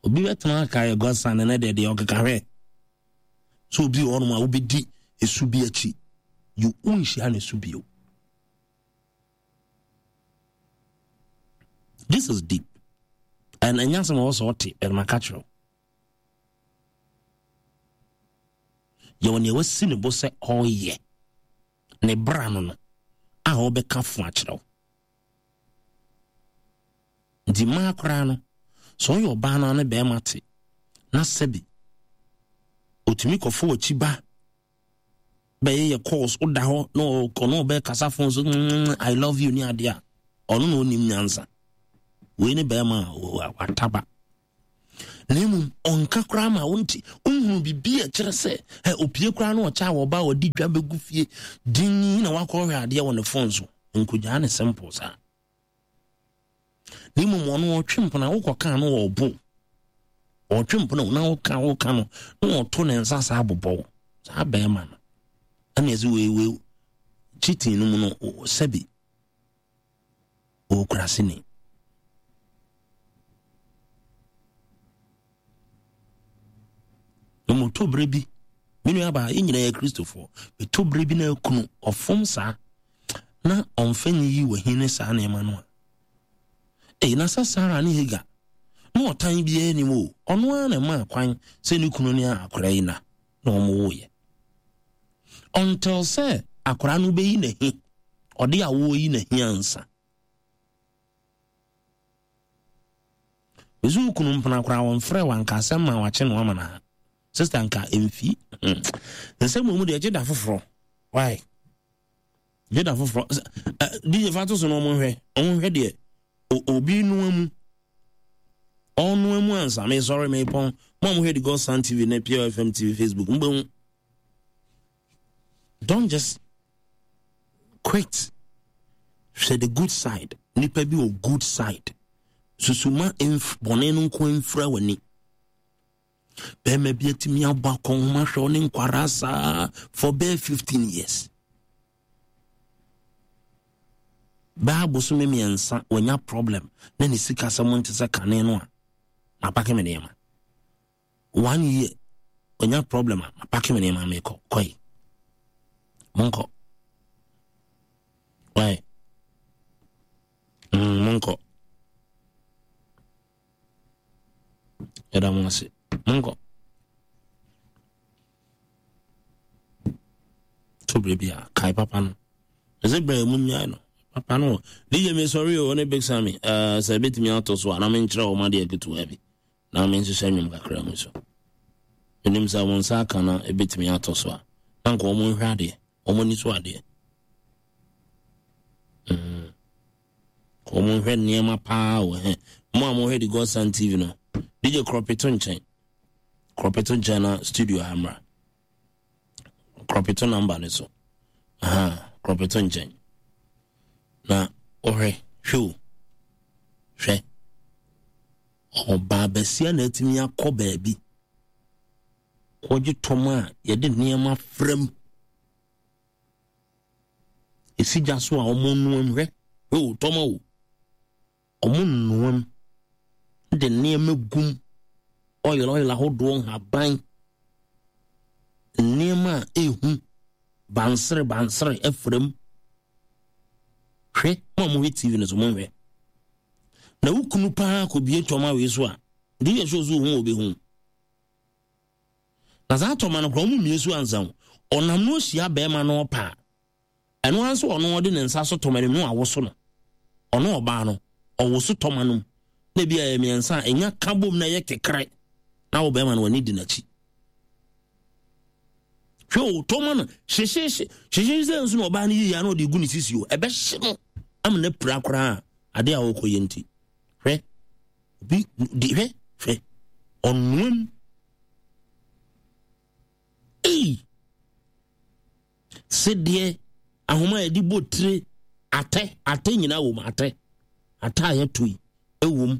obi bɛtena aka yɛ godson ne deɛ deɛ ɔkeka hwɛ so obi wɔ hɔnom a wobɛdi esu bi akyi you wonhyia ne su bio. This is deep and ɛnyɛ asɛm a wɔsɛ ɔte ɛnum aka kyerɛw yɛwɔ nea wasi ne bo sɛ ɔreyɛ ne bra no no a ɔbɛka fo akyerɛw nti mmaa koraa no sɛ ɔyɛ ɔbaa no ne bɛrima te na sɛbi otumi kɔfo akyi ba bɛyɛ yɛ calls woda hɔ na ɔno ɔbɛkasa phone so mm, I love you ne adeɛ a ɔno na ɔnim nyansa Wei ne bɛrima a wataba. Na mmom ɔnka koraa ma wonti wohunu biribi a ɛkyerɛ sɛ ɛ opie koraa na ɔkyɛ a wɔba a ɔde dwa bɛgu fie din na wakɔhwɛ adeɛ wɔ ne phone so. Nkogyaa ne simple saa. Na mmom ɔno ɔtwe mpona wokɔka no wɔ ɔbo. Ɔtwe mpona na woka woka no na ɔto ne nsa saa bobɔ saa bɛrima no. Ɛna ɛsɛ wei wei cheating no mu no sɛbi ɔkura sini. Na moto bere bi me nua baa yɛn nyinaa yɛ Kristofoɔ meto bere bi na akunu ɔfom saa na ɔmfa nyiyi wahi ne saa nneɛma no a ɛyi na sɛ Sarah ne Hagar na ɔtan biara anim o ɔno ara na ɛmaa kwan sɛ ne kunu ne akora yi na na wɔn woyɛ until sɛ akora no bɛyi n'ahi ɔde awoɔ yi n'ahi ansa mesu kunu mpena koraa wɔmfrɛ wanka asɛm ma wakye no ama no ha sister nka emfi nsɛm mu deɛ gye da foforɔ why gye da foforɔ D J fa to so no ɔmo nhwɛ ɔmo nhwɛ deɛ obi noa mu ɔnoa mu ansa me sɔre me pɔn mo a mo hwɛ the Godson T V ne P L F M T V Facebook mbɛhu. Don't just quit. Hwɛ the good side. Nipa bi wɔ good side. Susuma bɔne no nko mfira w'ani. Bɛrima bi atumi abɔ akɔnhoma hwɛ ɔne nkwara saa for bɛɛ fifteen years. Bɛɛ abosome mmiɛnsa wanya problem na ne sika sɛ mo nte sɛ kane no a mapake me nneɛma. One year wanya problem a mapake me nneɛma mekɔ kɔe. Monkɔ. Why? Mm, monkɔ. Yɛda mo ase. Monkɔ. To bere bi a kae papa no. Ɛsɛ bere mu nyae no. Papa no. D J me sorry o ne Big Sammy. Eh sɛ betumi ato so a na menkyerɛ wo ma de aketewa bi. Na menhyehyɛ nnwom kakra mu so. Menim sɛ wo nsa aka na ebetumi ato so a. Na nka wɔn nhwɛ adeɛ. Wɔn ani so adeɛ. Mm. Wɔn nhwɛ nneɛma paa wɔ he. Mo a mohwɛ the Godson T V no. D J Kropeto nkyɛn. Kropeto nkyɛn na studio ha mmra. Kropeto number ne so. Aha, Kropeto nkyɛn. Na ɔhwɛ, hwɛ o. Hwɛ. Ɔbaa basia na atumi akɔ baabi. Kɔgye tɔm a yɛde nneɛma frɛm. Esi gya so a ɔmo noam hwɛ. Hwɛ o, tɔm o. Ɔmo noam. De nneɛma gum. Oil, oil ahodoɔ nhaban. Nneɛma a ehu. Bansere, bansere ɛfrɛm. Hwɛ, mo a mohwɛ T V no so, monhwɛ. Na wo kunu paa kɔbie tɔm a wei so a, de yɛ so so hu obehu. Na saa tɔma no koraa ɔmo mmie so ansa o. Ɔnam no ahyia bɛrima no ɔpa a, ɛno ara nso ɔno ɔde ne nsa so tɔma no mu na wawoso no. Ɔno ɔbaa no, ɔwoso tɔma no mu. Na ebi a ɛyɛ mmiɛnsa a, ɛnya ka bom na ɛyɛ kekere. Na wo bɛrima no w'ani di n'akyi. Hwɛ o, tɔma no, hyehyehye, hyehyehye sɛ nso na ɔbaa no yiyi a na ɔde gu ne sisi o. Ɛbɛhye no ama no apira koraa ade a ɔrekɔ yɛ nti. Hwɛ, obi di hwɛ, hwɛ, ɔnoam. Ei! Sedeɛ, ahoma a yɛde bɔ tire, atɛ, atɛ nyinaa wɔ mu, atɛ. Atɛ a yɛto yi, ɛwɔ mu.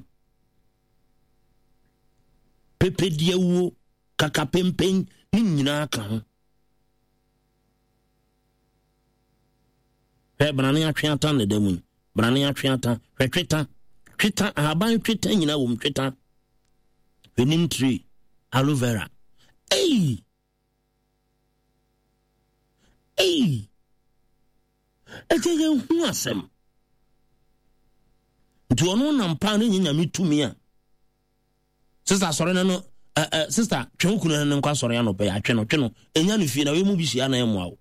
Pepedeɛ wuo, kakapempen, ne nyinaa ka ho. Hwɛ, brane atwe ata ne da mu yi. Brane atwe ata, hwɛ tweta. Tweta, ahaban tweta nyinaa wɔ mu, tweta. Hwɛ neem tree, aloe vera. Ei! Ei! Ɛkyɛ yɛn hu asɛm. Nti ɔno nam paa ne nyɛ nyame tumi a. Sister asɔre no no, eh, eh, sister, twe wo kunu no nkɔ asɔre anɔpa yi, atwe no, twe no. Ɛnya no fie na wei mu bi hyia na ɛmmoa wo.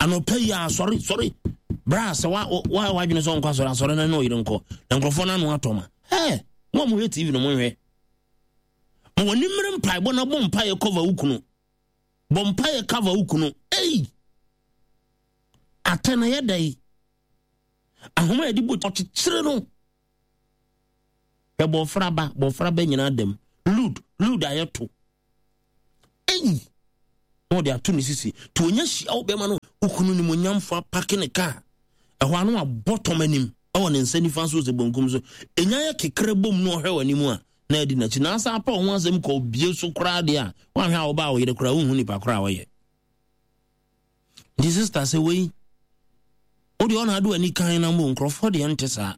Anɔpa yi a, asɔre, sɔre. Bra sɛ wa, wa, wadwene sɛ ɔnkɔ asɔre, asɔre no ne ɔyere nkɔ. Na nkurɔfoɔ no ano atɔ ma. Hɛ, mo a mohwɛ T V no monhwɛ. Ma w'ani mmere mpaebɔ na bɔ mpaeɛ cover wo kunu. Bɔ mpaeɛ cover wo kunu. Ei! Atɛ na yɛ dɛ yi. Ahoma a yɛde bɔ ɔkyekyere no. Hwɛ bɔfra ba, bɔfra ba nyinaa dam. Lud, lud ayɛ to. Ei! Na ɔde ato ne sisi. Nti onya hyia wo bɛma no, okunu nimonyamfo apake ne kaa. Ɛhɔ ano abɔ tɔm anim ɛwɔ ne nsa nifa so sɛ bonkum so. Enya yɛ kekere bom na ɔhwɛ w'anim a, na adi n'akyi. Na asa apa ho asɛm kɔ obie so koraa deɛ a, woanhwɛ a wobaa wo yere koraa wonhu nipa koraa a ɔyɛ. Nti sister sɛ wei, wo deɛ ɔna ade w'ani kan na mbo nkurɔfoɔ deɛ nte saa.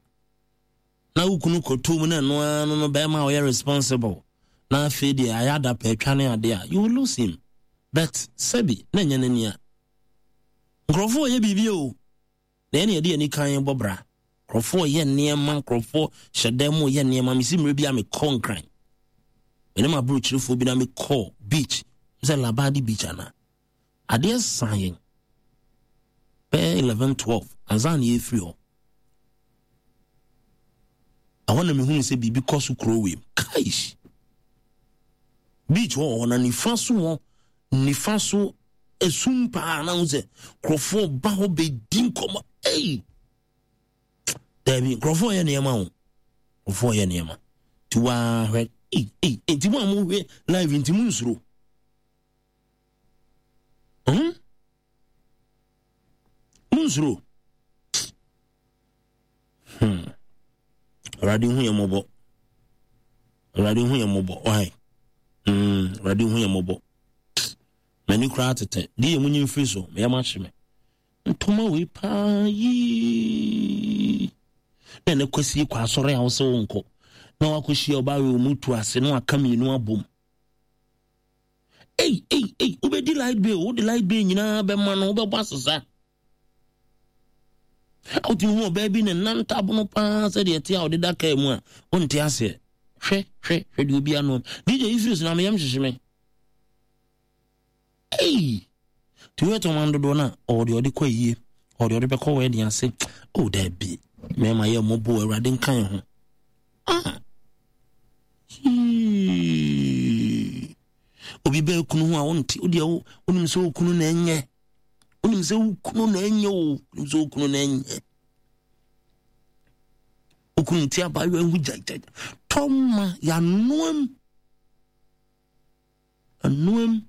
Na wo kunu kɔto mu na ɛno ara no no bɛrima a ɔyɛ responsible. Na afei deɛ ayɛ adapa atwa ne adeɛ a, you will lose him. But sɛbi, na ɛnyɛ n'ani a. Nkurɔfoɔ yɛ biribi o. Na ɛne yɛde ani kan bɔ bra. Nkurɔfoɔ yɛ nneɛma, nkurɔfoɔ hyɛ dan mu yɛ nneɛma. Mesi mmerɛ bi a mekɔ Nkran. Mene m'aburokyerefoɔ bi na mekɔ beach. Sɛ Labadi Beach ana. Adeɛ san yɛn. Bɛyɛ eleven twelve ansa na yɛfiri hɔ. Ɛhɔ na mehunu sɛ biribi kɔ so kuro wei mu. Kaish! Beach hɔ hɔ na nifa so hɔ, nifa so esum paa na ho sɛ nkurɔfoɔ ba hɔ bɛdi nkɔmmɔ. Ei! Daabi, nkurɔfoɔ yɛ nneɛma o. Nkurɔfoɔ yɛ nneɛma. Nti waa hwɛ, ei, ei, nti mo a mohwɛ live nti mo nsuro. Hmm? Mo nsuro. Hmm. Awurade hu yɛ mmɔbɔ. Awurade hu yɛ mmɔbɔ. Why? Hmm. Awurade hu yɛ mmɔbɔ. M'ani koraa tete. Di yɛ mu nyi mfiri so. Meyɛ ma hye me. Ntoma wei paa yii. Na ɛnɛ kwasi kɔ asɔre a wosɛ wo nkɔ. Na wakɔhyia ɔbaa wei ɔmu tu ase na waka mmienu abom. Ei, ei, ei, wobɛdi light bill, wode light bill nyinaa bɛma no, wobɛbɔ asesa. Wotumi hu ɔbaa bi ne nantabono paa sɛdeɛ ɛte a ɔde da kaa mu a, wonte aseɛ. Hwɛ, hwɛ, hwɛ deɛ obi ano. D J Ifris na meyam hyehye me. Ei! Nti woyɛ tɔma dodoɔ no a, ɔwɔ deɛ ɔde kɔ ayie, ɔwɔ deɛ ɔde bɛkɔ wɔ ɛde ase. Oh, daabi. Mmarima yɛ mmɔbɔ, Awurade nka yɛn ho. Ah! Yee. Obi bɛɛ kunu ho a wonte, wodeɛ wo, wonim sɛ wo kunu na ɛnyɛ. Wonim sɛ wo kunu na ɛnyɛ o, wonim sɛ wo kunu na ɛnyɛ. Wo kunu nti abaayewa ho gyagyagya. Tɔma yɛanoam. Anoam.